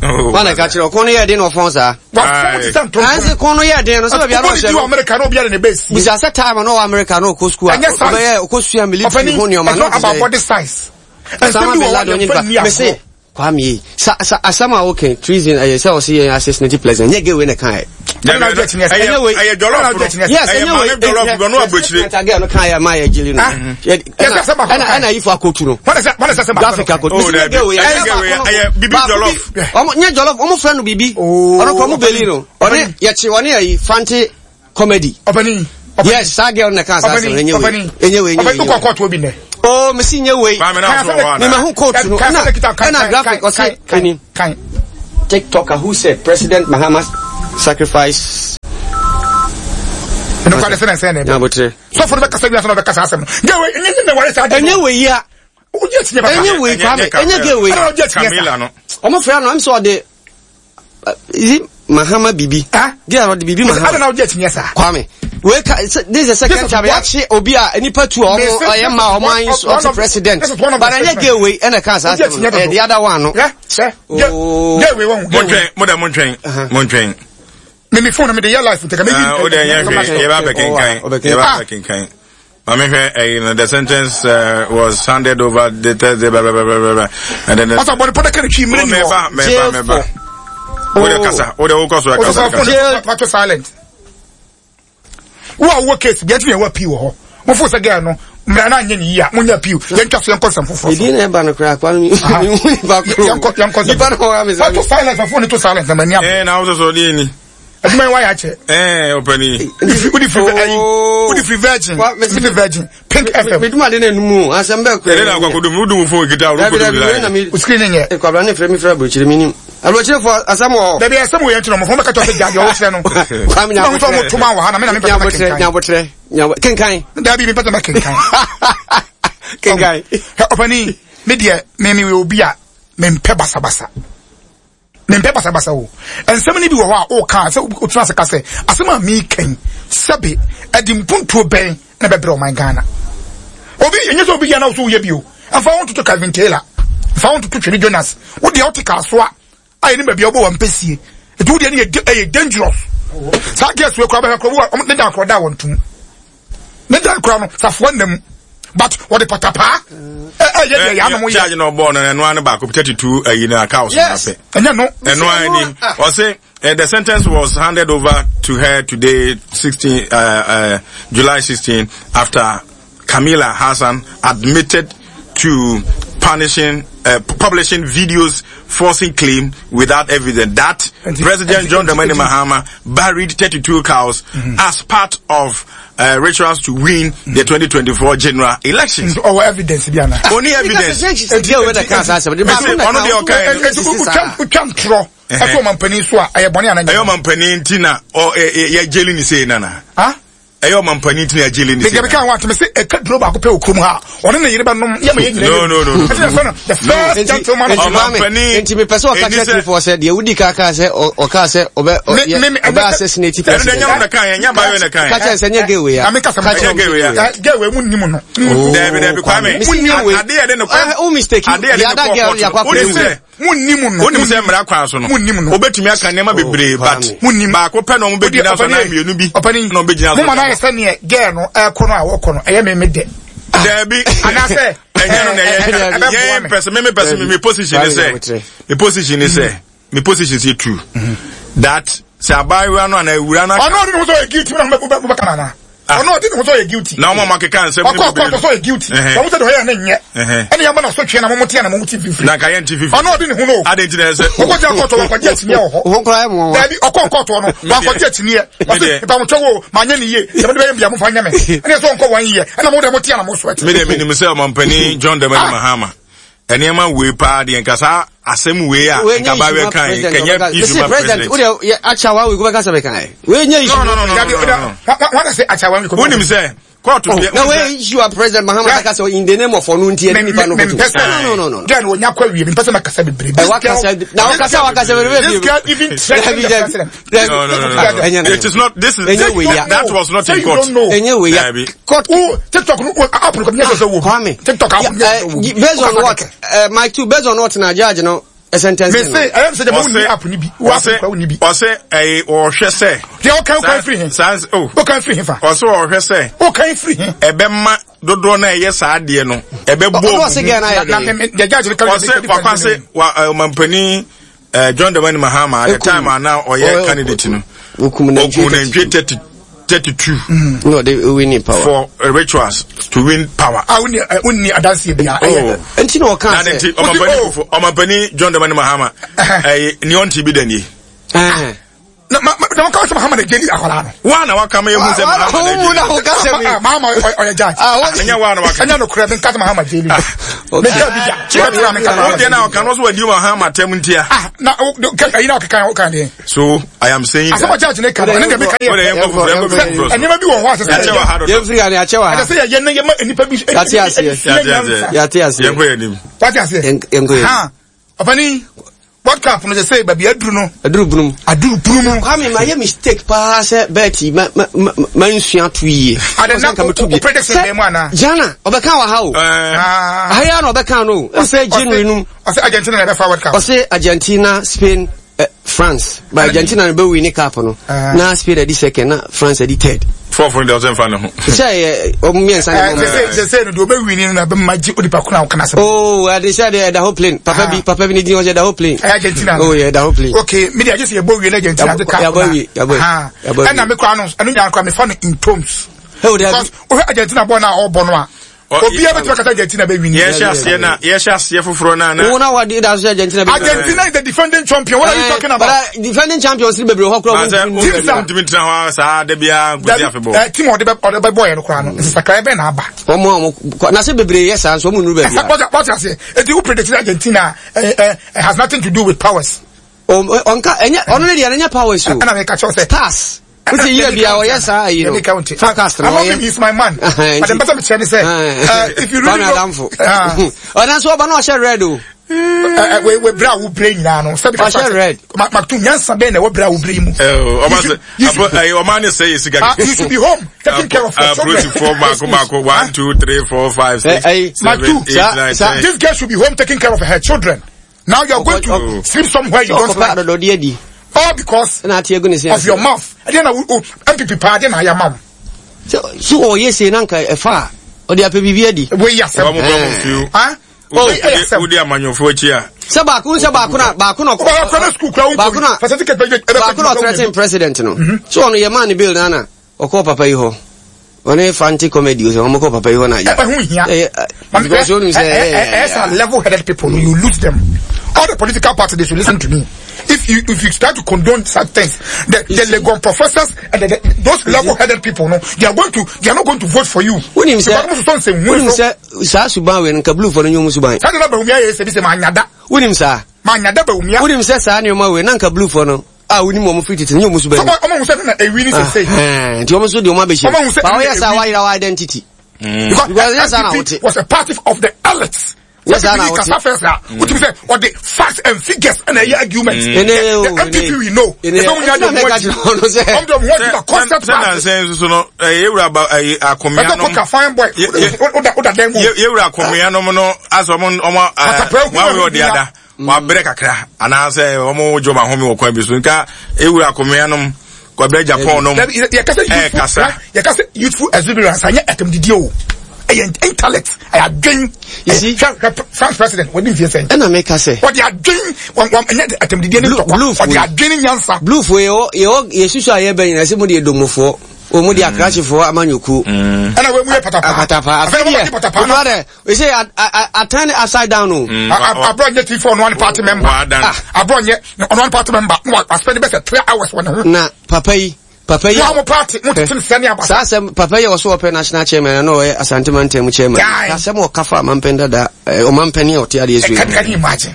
Speaker 2: Oh.
Speaker 6: wọn na ka kyerɛ ɔkɔn no yɛ den na ɔfɔn saa
Speaker 1: wafɔn te sɛ ntontom
Speaker 6: anse kɔn no yɛ den no sɛ baabi a na
Speaker 1: Wobɔ ne
Speaker 6: ɔhyɛ
Speaker 1: di wɔ
Speaker 6: no
Speaker 1: America na obiara ne bɛsi
Speaker 6: bisa sɛ time a na ɔwɔ America na ɔkɔ sukuu a
Speaker 1: Ɛnyɛ size.
Speaker 6: ɔbɛyɛ ɔkɔ sua military
Speaker 1: ɔpɛni
Speaker 6: ho nneɛma
Speaker 1: it's
Speaker 6: na
Speaker 1: not
Speaker 6: ɔte
Speaker 1: about
Speaker 6: sɛ
Speaker 1: body size ɛnsɛm
Speaker 6: Osama
Speaker 1: bi wɔ
Speaker 6: bin
Speaker 1: hɔ a
Speaker 6: Laden
Speaker 1: yɛmfa
Speaker 6: onipa
Speaker 1: nni
Speaker 6: mese
Speaker 1: agorɔ
Speaker 6: Kwame yi sa sa asɛm a woka treason ɛyɛ sɛ ɔse yɛn assassinate president nyɛ gay wei na ɛka ɛ.
Speaker 2: Ɛyɛ jollof no.
Speaker 6: Yes,
Speaker 2: ɛyɛ
Speaker 6: ɛnyɛ wei.
Speaker 2: maame jollof bi ɔno aburokyire.
Speaker 6: Ɛna girl no kan yɛ maa yɛ jeli no. Ɛna ɛna ifo akotu no. Graphic akotu.
Speaker 2: Oh, dabi. Ɛyɛ girl wei, ɛyɛ bibi jollof.
Speaker 6: Ɔmo nyɛ jollof, ɔmo fɛ no bibi. Ɔno kɔ ɔmo beli no. Ɔne yɛkye ɔne ayi fante comedy.
Speaker 1: Ɔpani.
Speaker 6: Yes, saa girl na kan saa asɛm ɛnyɛ wei. Ɛnyɛ wei, ɛnyɛ wei.
Speaker 1: Ɔpani kɔ kɔɔto obi nɛ.
Speaker 6: Oh, mesi nyɛ wei.
Speaker 2: Maame na so wɔ hɔ
Speaker 6: Me
Speaker 2: ana?
Speaker 6: ma ho coat no. Ɛna ɛna graphic ɔse ɛni.
Speaker 1: Kan.
Speaker 6: TikToker who said President Mahama sacrifice.
Speaker 1: Ɛno kora de sɛ na ɛsɛ na ɛbɛ.
Speaker 6: Nyabotre.
Speaker 1: Sɔfo no bɛkasa wiase na ɔbɛkasa asɛm no. Girl wei, ɛnyɛ ne ware saa de.
Speaker 6: Ɛnyɛ wei ya.
Speaker 1: Wogye akyinnye papa.
Speaker 6: Ɛnyɛ wei Kwame. Ɛnyɛ girl wei.
Speaker 1: Ɛna wogye akyinnye
Speaker 2: Camila no.
Speaker 6: Ɔmo frɛ no, ɛm sɛ ɔde is it Mahama Bibi?
Speaker 1: Ah?
Speaker 6: Girl ɔde Bibi
Speaker 1: Ɛna
Speaker 6: Mahama.
Speaker 1: wogye akyinnye saa.
Speaker 6: Kwame. Wei ka this is the second
Speaker 1: This is
Speaker 6: time
Speaker 1: one-
Speaker 6: yɛakye obi a nipa tu a ɔmo
Speaker 1: This is-
Speaker 6: ɔyɛ ma ɔmo
Speaker 1: one
Speaker 6: ayi
Speaker 1: of-
Speaker 6: so
Speaker 1: one
Speaker 6: ɔte
Speaker 1: of-
Speaker 6: president.
Speaker 1: this is one of the
Speaker 6: But ɛnyɛ
Speaker 1: statements.
Speaker 6: girl wei ɛna ka saa
Speaker 1: Wogye
Speaker 6: asɛm no.
Speaker 1: akyinnye
Speaker 6: Ɛyɛ
Speaker 1: dodo.
Speaker 6: the other one no.
Speaker 1: Hwɛ, hwɛ.
Speaker 6: Oh.
Speaker 1: Girl wei wɔn. Girl wei.
Speaker 2: Montwɛn, mo dɛ montwɛn, montwɛn.
Speaker 1: Me me phone no me de yɛ life nti ka me
Speaker 2: Ah, o de yɛ hwɛ, yɛ ba bɛ kenkan, yɛ ba bɛ kenkan. Maame hwɛ, ɛyi no, the sentence was handed over the Thursday, blah, blah, blah, blah, blah, and then.
Speaker 1: Ɔsɛ bɔde pɔtɛ kɛnɛ twi mmiri
Speaker 2: Oh,
Speaker 1: ni hɔ.
Speaker 2: mɛba, mɛba, mɛba. O de kasa, o de o kɔ so
Speaker 1: Ɔsɛ
Speaker 2: kasa,
Speaker 1: sɛ phone
Speaker 2: kasa.
Speaker 1: no pato silent. Wo a wowɔ case bi ɛtumi ɛwɔ appeal wɔ hɔ. Mo fo sɛ girl no mmara no anyɛ ne yie a mo nyɛ appeal. Yɛntwa so yɛnkɔ nsɛm foforɔ so.
Speaker 6: Edin na ɛba no koraa Kwame mi hu nipa koro.
Speaker 1: Yɛnkɔ yɛnkɔ nsɛm.
Speaker 6: Nipa no hɔ ame
Speaker 1: Pato silent phone no to silent na m'ani abere.
Speaker 2: Eh, na awo sɔsɔ de ni.
Speaker 1: Adwuma yi wayɛ akyɛ.
Speaker 2: Eh, ɔpɛni.
Speaker 1: Wodi firi ayi wodi firi virgin wodi virgin pink fm.
Speaker 6: Mi duma de na enum o asɛm bɛɛ kura.
Speaker 2: Ɛdɛ na akɔ kodum, wodum phone kita, wodum kodum la.
Speaker 6: Dabi dabi
Speaker 1: O screen nyɛ.
Speaker 6: Kwabra ne fira mi fira aburokyire mi nim. Aburokyire fo asɛm wɔ hɔ.
Speaker 1: Dabi asɛm wɔ yɛn ti na ɔmo fɔn bɛka kyerɛ sɛ gya deɛ ɔwɔ kyerɛ no.
Speaker 6: Kwame
Speaker 1: Na ɔmo sɛ ɔmo toma wɔ ha na mi na mi pɛ sɛ mɛkenkan.
Speaker 6: Nyabotrɛ nyabotrɛ kenkan.
Speaker 1: Dabi mi pɛ sɛ mɛkenkan.
Speaker 6: Kenkan.
Speaker 1: Ɔpɛni mi deɛ mi mi wɔ obi a mi mpɛ basabasa. Mempɛ basabasa o. Nsɛm no bi wɔ hɔ a woka a sɛ wotena ase ka sɛ asɛm a meka yi sɛbe ɛde mpuntuo bɛn na ɛbɛbrɛ ɔman Ghana. Obi ɛnyɛ sɛ obi yɛ na wo so woyɛ bi o. Mfa wo ntoto Calvin Taylor. Mfa wo ntoto Twene Jonas. Wo deɛ wote Kasoa a yɛnim baabi a wobɔ w'ampɛsie. Nti wo deɛ no yɛ ɛyɛ dangerous. Saa girls wei koraa bɛhwɛ koraa ne dan koraa da wɔn tom. Ne dan koraa no safoa nna mu. But wɔde patapaa ɛyɛ deɛ yɛ anom yɛ.
Speaker 2: Charge na ɔbɔɔ no ɛno ano baako 32 ayi na aka ɔso na pɛ.
Speaker 1: Ɛnyɛ no.
Speaker 2: Ɛno ara ni ɔse the sentence was handed over to her today 16 July 16 after Camila Hassan admitted to punishing publishing videos forcing claim without evidence that President John Dramani Mahama buried 32 cows as part of rituals to win the 2024 general elections.
Speaker 1: Ɔwɔ evidence bi ana?
Speaker 2: Only evidence. Ɔno deɛ ɔka
Speaker 1: yɛ. Otwa ntorɔ ɛto ɔmampanin so a ɛyɛ bɔne ana?
Speaker 2: Ɛyɛ ɔmampanin ti na yɛ gyeli ne sei nana. Ɛyɛ ɔmampanin ti na yɛ ne sei.
Speaker 1: Meka ho atome sɛ ɛka duro baako pɛ wɔ kurom ha ɔne ne yere bɛnom yɛ ma yɛ nyina.
Speaker 2: No no no.
Speaker 1: Ɛti na the first gentleman of
Speaker 2: ɔmampanin.
Speaker 6: Nti mepɛ sɛ ɔka kyerɛ tifoɔ sɛ deɛ wodi ka kaa sɛ ɔkaa sɛ ɔbɛ ɔbɛ assassinate
Speaker 2: president. Ɛno na kan yɛ nya bayo na kan.
Speaker 6: Ka kyerɛ sɛ nyɛ gay wei a.
Speaker 1: Na meka sɛ
Speaker 6: Ka kyerɛ
Speaker 2: gay wei a.
Speaker 1: Gay wei mu nim no.
Speaker 2: Dabi dabi Kwame. Ade yɛ de ne kɔ.
Speaker 6: O mistake.
Speaker 2: Ade yɛ de ne kɔ kɔɔto. Wonim sɛ
Speaker 1: Mu nim no.
Speaker 2: Wonim sɛ mmara kwan so no.
Speaker 1: Mu nim no.
Speaker 2: Wobɛtumi aka nneɛma bebree but
Speaker 1: Mu nim.
Speaker 2: Baako pɛ na wɔn bɛgyina so na mmienu bi.
Speaker 1: Ɔpani.
Speaker 2: Na wɔn bɛgyina so.
Speaker 1: Mo ma no ayɛ sɛ neɛ girl no ɛkɔ no a wɔkɔ no ɛyɛ me me dɛ.
Speaker 2: Dabi.
Speaker 1: Anaasɛ
Speaker 2: ɛnyɛ no na ɛyɛ yɛn pɛsɛ me me pɛsɛ me me position ne sɛ me position ne sɛ me position sɛ true that sɛ abaayewa no anaa awura no.
Speaker 1: Ɔno ɔde ne ho sɛ ɔyɛ guilty mu na mo bɛ ka no anaa? Ɔno ɔde ne ho sɛ ɔyɛ guilty.
Speaker 2: Na wɔn a wɔakeka nsɛm no
Speaker 1: Ɔkɔ ɔkɔ sɛ ɔyɛ guilty. Wɔn sɛ deɛ ɔyɛ no nyɛ. Ɛna yɛn bɔ na so twɛn na wɔn te na wɔn ti fifiri.
Speaker 2: Na nka yɛn ti fifiri.
Speaker 1: Ɔno ɔde ne ho no.
Speaker 2: Adi nti na ɛsɛ.
Speaker 1: Ɔkɔ gyina kɔɔtɔ wɔn akɔgye akyiniɛ wɔ hɔ.
Speaker 6: Wɔn kura yɛ mu wɔn.
Speaker 1: Dabi ɔkɔ kɔɔtɔ no wɔn akɔgye akyiniɛ. Wɔsi mpamutwa wo maa nyɛ ne yie. Yɛn de bɛyɛ mbia mo fa nyɛ mɛ. Ɛna yɛ sɛ ɔnkɔ wɔn yie. Ɛna mo de mo te na mo so ɛte.
Speaker 2: Mi de mi nim sɛ ɔmampanin John Dramani Mahama nneɛma wei paa deɛ nka saa asɛm wei a nka ba bɛ kan kɛnyɛ issue ma president.
Speaker 6: O de akyɛ wa wei ko bɛ kasa bɛ kan yɛ. Wei nye issue.
Speaker 2: No no no no no.
Speaker 1: Wɔn na se akyɛ wa wei ko.
Speaker 2: Wonim sɛ kóòtù deɛ.
Speaker 6: Na wei issue a president Mahama bɛ kasa in the name of ɔno nti ɛni nipa no koto. No no no no.
Speaker 1: Gɛn o nya kɔ awie mi mpɛsɛ ma kasa bebree.
Speaker 6: Ɛ wa kasa na wa kasa wa kasa bebree.
Speaker 1: This girl even threatened the president.
Speaker 2: No no no no. It is not this is that was not in court.
Speaker 6: Enye wei ya.
Speaker 1: Court. Wo TikTok no app no nyɛ sɛ wo.
Speaker 6: Kwame.
Speaker 1: TikTok app nyɛ sɛ wo.
Speaker 6: Based on what? Mike too based on what na judge no sentence
Speaker 1: no. Me say ɛyɛ sɛ jama wonni app ni bi. Wo app kura wonni bi.
Speaker 2: Ɔsɛ ɛyɛ ɔhwɛ sɛ.
Speaker 1: Deɛ ɔkan ɔkan firi he.
Speaker 2: Saa oh.
Speaker 1: Ɔkan firi he fa.
Speaker 2: Ɔsɛ ɔhwɛ sɛ.
Speaker 1: Ɔkan firi he.
Speaker 2: Ɛbɛma dodoɔ na ɛyɛ saa adeɛ no ɛbɛbɔ.
Speaker 6: Ɔsɛ gɛn na yɛ de.
Speaker 1: Deɛ judge no kan.
Speaker 2: Ɔsɛ wakwa se wa ɔmampanin. John Dramani Mahama at the time a na ɔyɛ candidate no
Speaker 6: okum
Speaker 2: nantwie 30 32
Speaker 6: na ɔde win power
Speaker 2: for rituals to win power.
Speaker 1: a wonni wonni adanseɛ bia ɛyɛ
Speaker 6: oh. nti na ɔka
Speaker 2: sɛ nti ɔmampanin ɔmampanin John Dramani Mahama ɛyɛ ni ɔnti bi da nie.
Speaker 1: Na ma na wɔka sɛ mahama na gyeli akwadaa no.
Speaker 2: wa na waka ma ehu sɛ mahama na gyeli.
Speaker 6: na wɔka sɛ mi.
Speaker 1: Mahama ɔyɛ judge.
Speaker 2: Ɛnyɛ wa na waka.
Speaker 1: Ɛnyɛ nokorɛ mi nka sɛ mahama gyeli. Mi nka bi da. Kyerɛ mi na mi nka mahama.
Speaker 2: O deɛ na ɔka no so wadi mahama tɛm ntia.
Speaker 1: Ah na o ayi na ɔkeka ɔka deɛ.
Speaker 2: So I am saying that.
Speaker 1: Asɛm judge ne ka no ɛne deɛ mi ka
Speaker 2: yɛ. O de yɛn kɔ foforɔ yɛn kɔ foforɔ.
Speaker 1: Nneɛma bi wɔ hɔ a sɛ
Speaker 2: sɛ.
Speaker 6: Yɛn firi ha ni akyɛ wɔ ha.
Speaker 1: Ɛsɛ sɛ yɛ yɛ ne yɛ ma nipa bi.
Speaker 6: Yate aseɛ. Yate aseɛ.
Speaker 2: Yɛn kɔ yɛn nim.
Speaker 1: Wate aseɛ.
Speaker 6: Yɛn kɔ yɛn nim.
Speaker 1: Ɔpanin, World Cup no sɛsɛi baabi aduru no.
Speaker 6: Aduru bunu.
Speaker 1: Aduru bunu mu.
Speaker 6: Kwame ma yɛ mistake paa sɛ bɛɛti ma ma ma ma nsua to yie.
Speaker 1: Ade na o o prediction bɛn mu ana.
Speaker 6: Jana ɔbɛka wɔ ha o. Aha yi na ɔbɛka no o. Ɔsɛ January num.
Speaker 1: Ɔsɛ Argentina na ɛbɛfa World Cup.
Speaker 6: Ɔsɛ Argentina, Spain, eh, France. But Argentina no bɛ win cup no. Na Spain adi second na France adi third.
Speaker 2: Fourth no deɛ ɔsɛ nfa ne ho.
Speaker 6: Sɛ yɛ ɔmo mmiɛnsa ne mo.
Speaker 1: Sɛ sɛ no deɛ ɔbɛ win no na bɛ ma gye onipa ko na ɔka n'asɛm.
Speaker 6: Oo ade sɛ deɛ ɛda hɔ plane papa bi papa bi ne din ɔsɛ ɛda hɔ plane.
Speaker 1: Ɛyɛ Argentina.
Speaker 6: Oo yɛ ɛda hɔ plane.
Speaker 1: Okay mi de agye sɛ yɛbɔ wie na Argentina de cup na.
Speaker 6: Yabɔ wie yabɔ wie.
Speaker 1: Ɛna mi kura no ɛno nyinaa kura mi fa no in tones. Because wohwɛ Argentina bɔ na ɔbɔ no a. Obiara bɛtumi akasa Argentina bɛ win.
Speaker 2: Yɛhyɛ aseɛ na yɛhyɛ aseɛ foforɔ na na.
Speaker 6: Wɔn a wɔde da so Argentina bɛ.
Speaker 1: Argentina is the defending champion. What are you eh, talking about?
Speaker 6: But uh, defending champions ni bebree hɔ kura
Speaker 2: wɔn ntumi. Team sa ntumi tena hɔ saa de bia nkosi afebɔ.
Speaker 1: Eh, team ɔde bɛ ɔde bɛ bɔ yɛ no kura no nsakra bɛ na aba.
Speaker 6: Wɔn a wɔn na se bebree yɛ saa nso wɔn nuru baabi a.
Speaker 1: Wɔte aseɛ eti wo predict Argentina eh, eh, has nothing to do with powers.
Speaker 6: Ɔnka ɛnyɛ ɔno ne deɛ ɛnyɛ powers o.
Speaker 1: Ɛna mi ka kyerɛ sɛ.
Speaker 6: Stars. Wosi yie bia ɔyɛ saa ayi no. Forecast no ɔyɛ.
Speaker 1: He's my man. But the better me kyerɛ ne sɛ. If you really know.
Speaker 6: Adamfo. Ɔna nso ɔba na ɔhyɛ red o.
Speaker 1: We we bra wo bere nyinaa no. Sɛbi kasa.
Speaker 6: Ɔhyɛ red.
Speaker 1: Maktum nyansa bɛn na ɛwɔ bra wo bere yi mu.
Speaker 2: Ɔba sɛ ɔma ne sɛ yɛ sika.
Speaker 1: You should be home taking care of your children.
Speaker 2: Apolisifoɔ mako mako 1 2 3 4 5 6 7 8 9 10.
Speaker 1: This girl should be home taking care of her children. Now you are going to sleep somewhere you don't like. All because of your mouth. Ɛdeɛ na wo MPP paa deɛ na ayɛ ama wo.
Speaker 6: So ɔyɛ sei na nka ɛfa a ɔde apɛ biribi adi.
Speaker 1: Wei yɛ asɛm.
Speaker 2: Wɔn bɔ mo fiw. Wodi amanyɔfoɔ akyi a.
Speaker 6: Sɛ baako sɛ baako na baako na baako na baako na ɔthreaten president no. So ɔno yɛ maa ne bill nana. Ɔkɔɔ papa yi hɔ. Ɔne Fante comedy sɛ wɔn kɔ papa yi hɔ na agya.
Speaker 1: Ɛho hia.
Speaker 6: Because wɔn sɛ
Speaker 1: ɛyɛ sɛ level headed people you lose them. All the political parties they should listen to me. If you if you start to condone such things, the the Legon professors and the, the, those level headed people no, they are going to they are not going to vote for you.
Speaker 6: Wonim sɛ wonim sɛ saa suban wei no nka blue fo no nyɛ ɔmo suban.
Speaker 1: Saa de na Bawumia yɛ sɛ bi sɛ maa nyada.
Speaker 6: Wonim saa.
Speaker 1: Maa nyada Bawumia.
Speaker 6: Wonim sɛ saa nneɛma wei na nka blue fo no a wonim wɔn firi tete nyɛ wɔn suban.
Speaker 1: Sɛ ɔmo sɛ na ewi ni sese.
Speaker 6: Nti wɔn nso de wɔn abɛhyɛ.
Speaker 1: Ɔmo sɛ
Speaker 6: ba ɔyɛ saa wayera wa identity.
Speaker 1: Because
Speaker 6: yɛ saa na wote.
Speaker 1: Was a party of the elites.
Speaker 6: Yɛ saa na wote.
Speaker 1: Kasa fɛn sa. Wotumi sɛ ɔde facts and figures ɛna ɛyɛ argument.
Speaker 6: Ɛnɛ o
Speaker 1: The MPP we know.
Speaker 6: Ɛnɛ ɛnɛ mɛka kyerɛ ɔno sɛ.
Speaker 1: Ɔmo de ɔmo ho adi na concept
Speaker 2: party. Sɛ nansɛn nso no yɛwura ba ɛyɛ akomea nom.
Speaker 1: Bɛtɛ kɔka fine boy. Oda dan mu.
Speaker 2: Yɛwura akomea nom no asɛ ɔmo ɔmo ɛɛ wɔn awɛ ɔde ada. Wabrɛ kakra anaasɛ wɔn gye wɔn ahome wɔ kwan bi so nka ewura akomea nom kwabrɛ Japan nom
Speaker 1: ɛɛkasa. Yɛka sɛ youthful exuberance anyɛ ɛtɛmdidie o ɛyɛ intellect ɛyɛ adwen. Hwɛ France president wɔde nfie sɛn.
Speaker 6: Ɛna meka sɛ.
Speaker 1: Wɔde adwen wɔn wɔn ɛnyɛ ɛtɛmdidie ne ntɔkwa wɔde adwen ne nyansa.
Speaker 6: Bluefo yɛwɔ yɛwɔ yɛsusu a yɛbɛ nyina sɛ mo deɛ domofoɔ wɔn mo deɛ akrakyefoɔ amanyɔkuo.
Speaker 1: Ɛna wɔn mu yɛ patapaa.
Speaker 6: Patapaa afei deɛ
Speaker 1: patapaa
Speaker 6: no. We say I, I, I turn it upside down o.
Speaker 1: Mm, Abro nye T4 no one party member. Ah. Abro nye no one party member. No I spend best 3 hours wɔ ne ho.
Speaker 6: Na papa yi papa yi.
Speaker 1: Wɔn mo party mo tete nsɛm ne abasa.
Speaker 6: Saa asɛm papa yi a ɔso ɔpɛ national chairman na ɔyɛ Asante mantam chairman. Asɛm ɔka fa ɔmampɛn dada ɔmampɛn a ɔte adeɛ so yi.
Speaker 1: Can you imagine?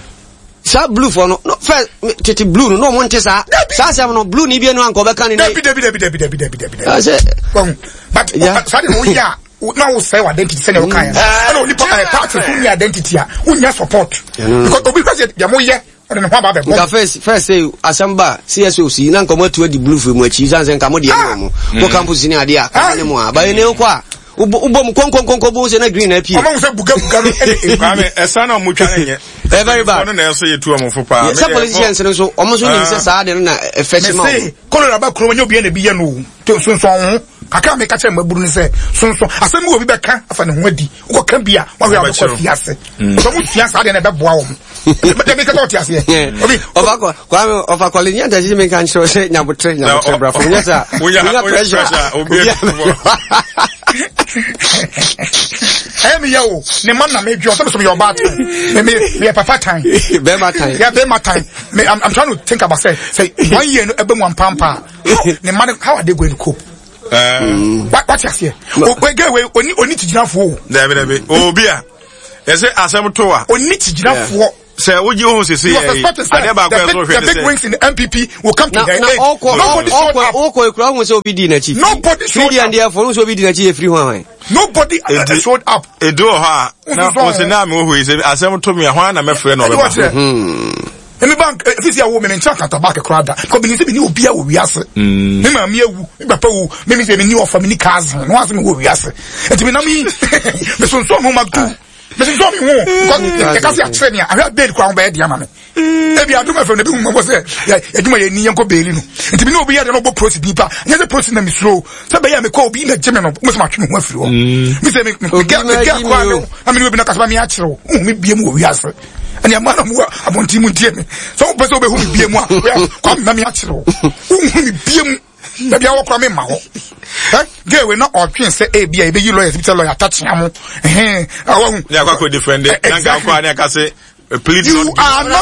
Speaker 6: Saa blue fɔ no no fɛ tete blue no na ɔmo nte saa saa asɛm no blue ni bi enu anka ɔbɛka ne ne.
Speaker 1: Dabi dabi dabi dabi dabi dabi dabi. Ɔsɛ. But saa de o yɛ a. na wo sɛ identity sɛnea woka yɛ ɛna onipa ɛyɛ party so ni identity a wonya support because obi hwɛ sɛ deɛ moyɛ ɔde ne ho aba bɛbɔ
Speaker 6: nka first first sɛ asɛm ba CSOs yi na nka ɔmo atu adi blue firi mu akyi san sɛ nka mo deɛ ne ɔmo mo campus ne adeɛ a kama ne mo a bayɛ ne wokɔ a wobɔ mu kɔnkɔnkɔnkɔ bo sɛ na green na apue
Speaker 1: ɔmo sɛ buga buga no ɛne ebi
Speaker 2: kwame ɛsa na ɔmo twa ne nyɛ
Speaker 6: eh, very bad
Speaker 2: ɔno na ɛsɛ yɛ tu ɔmo fo paa
Speaker 6: sɛ politicians no nso ɔmo nso nim sɛ saa de no na ɛfɛ kye ma
Speaker 1: ɔmo mese kolora ba kurom nyɛ obi na ebi yɛ no o to nsonson ho. Kakra meka kyerɛ mmabunu no sɛ sonso asɛm bi wɔ bi bɛka afa ne ho adi. Wokɔka bi a wahwɛ a wobɛkɔ afiase. Sɛ ɔmo sua saa deɛ na ɛbɛboa wɔn. Dabi kɛtɛ ɔte aseɛ. Obi.
Speaker 6: Ɔfa kɔ Kwame ɔfa kɔle nyɛ ntɛsi mi nka nkyerɛ sɛ nyabotre nyabotre brafo nyɛ sɛ
Speaker 2: wonya pressure obi
Speaker 1: ɛyɛ mi yɛ o ne ma na mi dwi ɔsɛ mi so mi yɛ ɔbaa tan mi mi mi yɛ papa tan
Speaker 6: bɛɛma tan
Speaker 1: yɛ bɛɛma tan mi I'm trying to think about say say one year no ɛbɛ mu ampampa ne ma no how are they going to cope. Wate aseɛ o gɛ wei oni oni ti gyinafoɔ o.
Speaker 2: Dabi dabi obi a yɛsɛ asɛm to a.
Speaker 1: Oni ti gyinafoɔ.
Speaker 2: Sɛ wogye wo ho sese yɛ yi adeɛ baako yɛ so hwɛ
Speaker 1: ne sɛ. The big wings in the NPP will come to their aid. Nobody showed up.
Speaker 6: Ɔkɔ ekura ohun sɛ obi di n'akyi.
Speaker 1: Nobody showed up.
Speaker 6: Fidi and therefore ohun sɛ obi di n'akyi yɛ firi ho ahwan.
Speaker 1: Nobody showed up.
Speaker 2: Edu wɔ hɔ a na wɔsɛ naa mi wɔ hɔ yi sɛ asɛm to mi a hɔn na mɛfrɛ na ɔbɛba.
Speaker 1: Emi bank efisi awo mi mi nkyɛn akata bank koraa da. Kɔ mi ni sɛ mi ni obi a wɔ wiase. Mi maame ewu, mi papa wu, mi mi sɛ mi ni ɔfa mi ni cousin, na wɔn asɛ mi wɔ wiase. Eti mi nam yi, mi sunsun mi ma tu. Mesensɔn me ho because yɛka sɛ akyerɛ me a ahwɛ bail kora ho bɛyɛ deɛ ama me. Ebi adom fm na bi hu mmɔbɔ sɛ yɛadwuma yɛ ni yɛnkɔ baili no. Nti me ne obi yɛ deɛ na ɔbɔ prosi din pa. Nyɛ sɛ prosi na mesuro sɛ bɛyɛ a mekɔ obi na gye me no mo sɛ matwe me ho afiri hɔ. Me sɛ me me gɛ kora me na me ne obi na kasa ma me akyerɛ wo. Wohu me bie mu wɔ wiase. Ɛne ɛma na mo wɔ abɔnten mu ntie me. Sɛ wopɛ sɛ wobɛhu me bie mu a kɔ me na me akyerɛ wo. Wohu me bie mu. Dabi awɔ kora me ma hɔ. Ɛ gay we na ɔtwen sɛ ebi a ebeyi lawyers bi sɛ lawyer atakyea mo. Ɛhɛn awahu.
Speaker 2: Ne akɔ akɔ defend. Nanka akɔ ne akase plead
Speaker 1: You are not.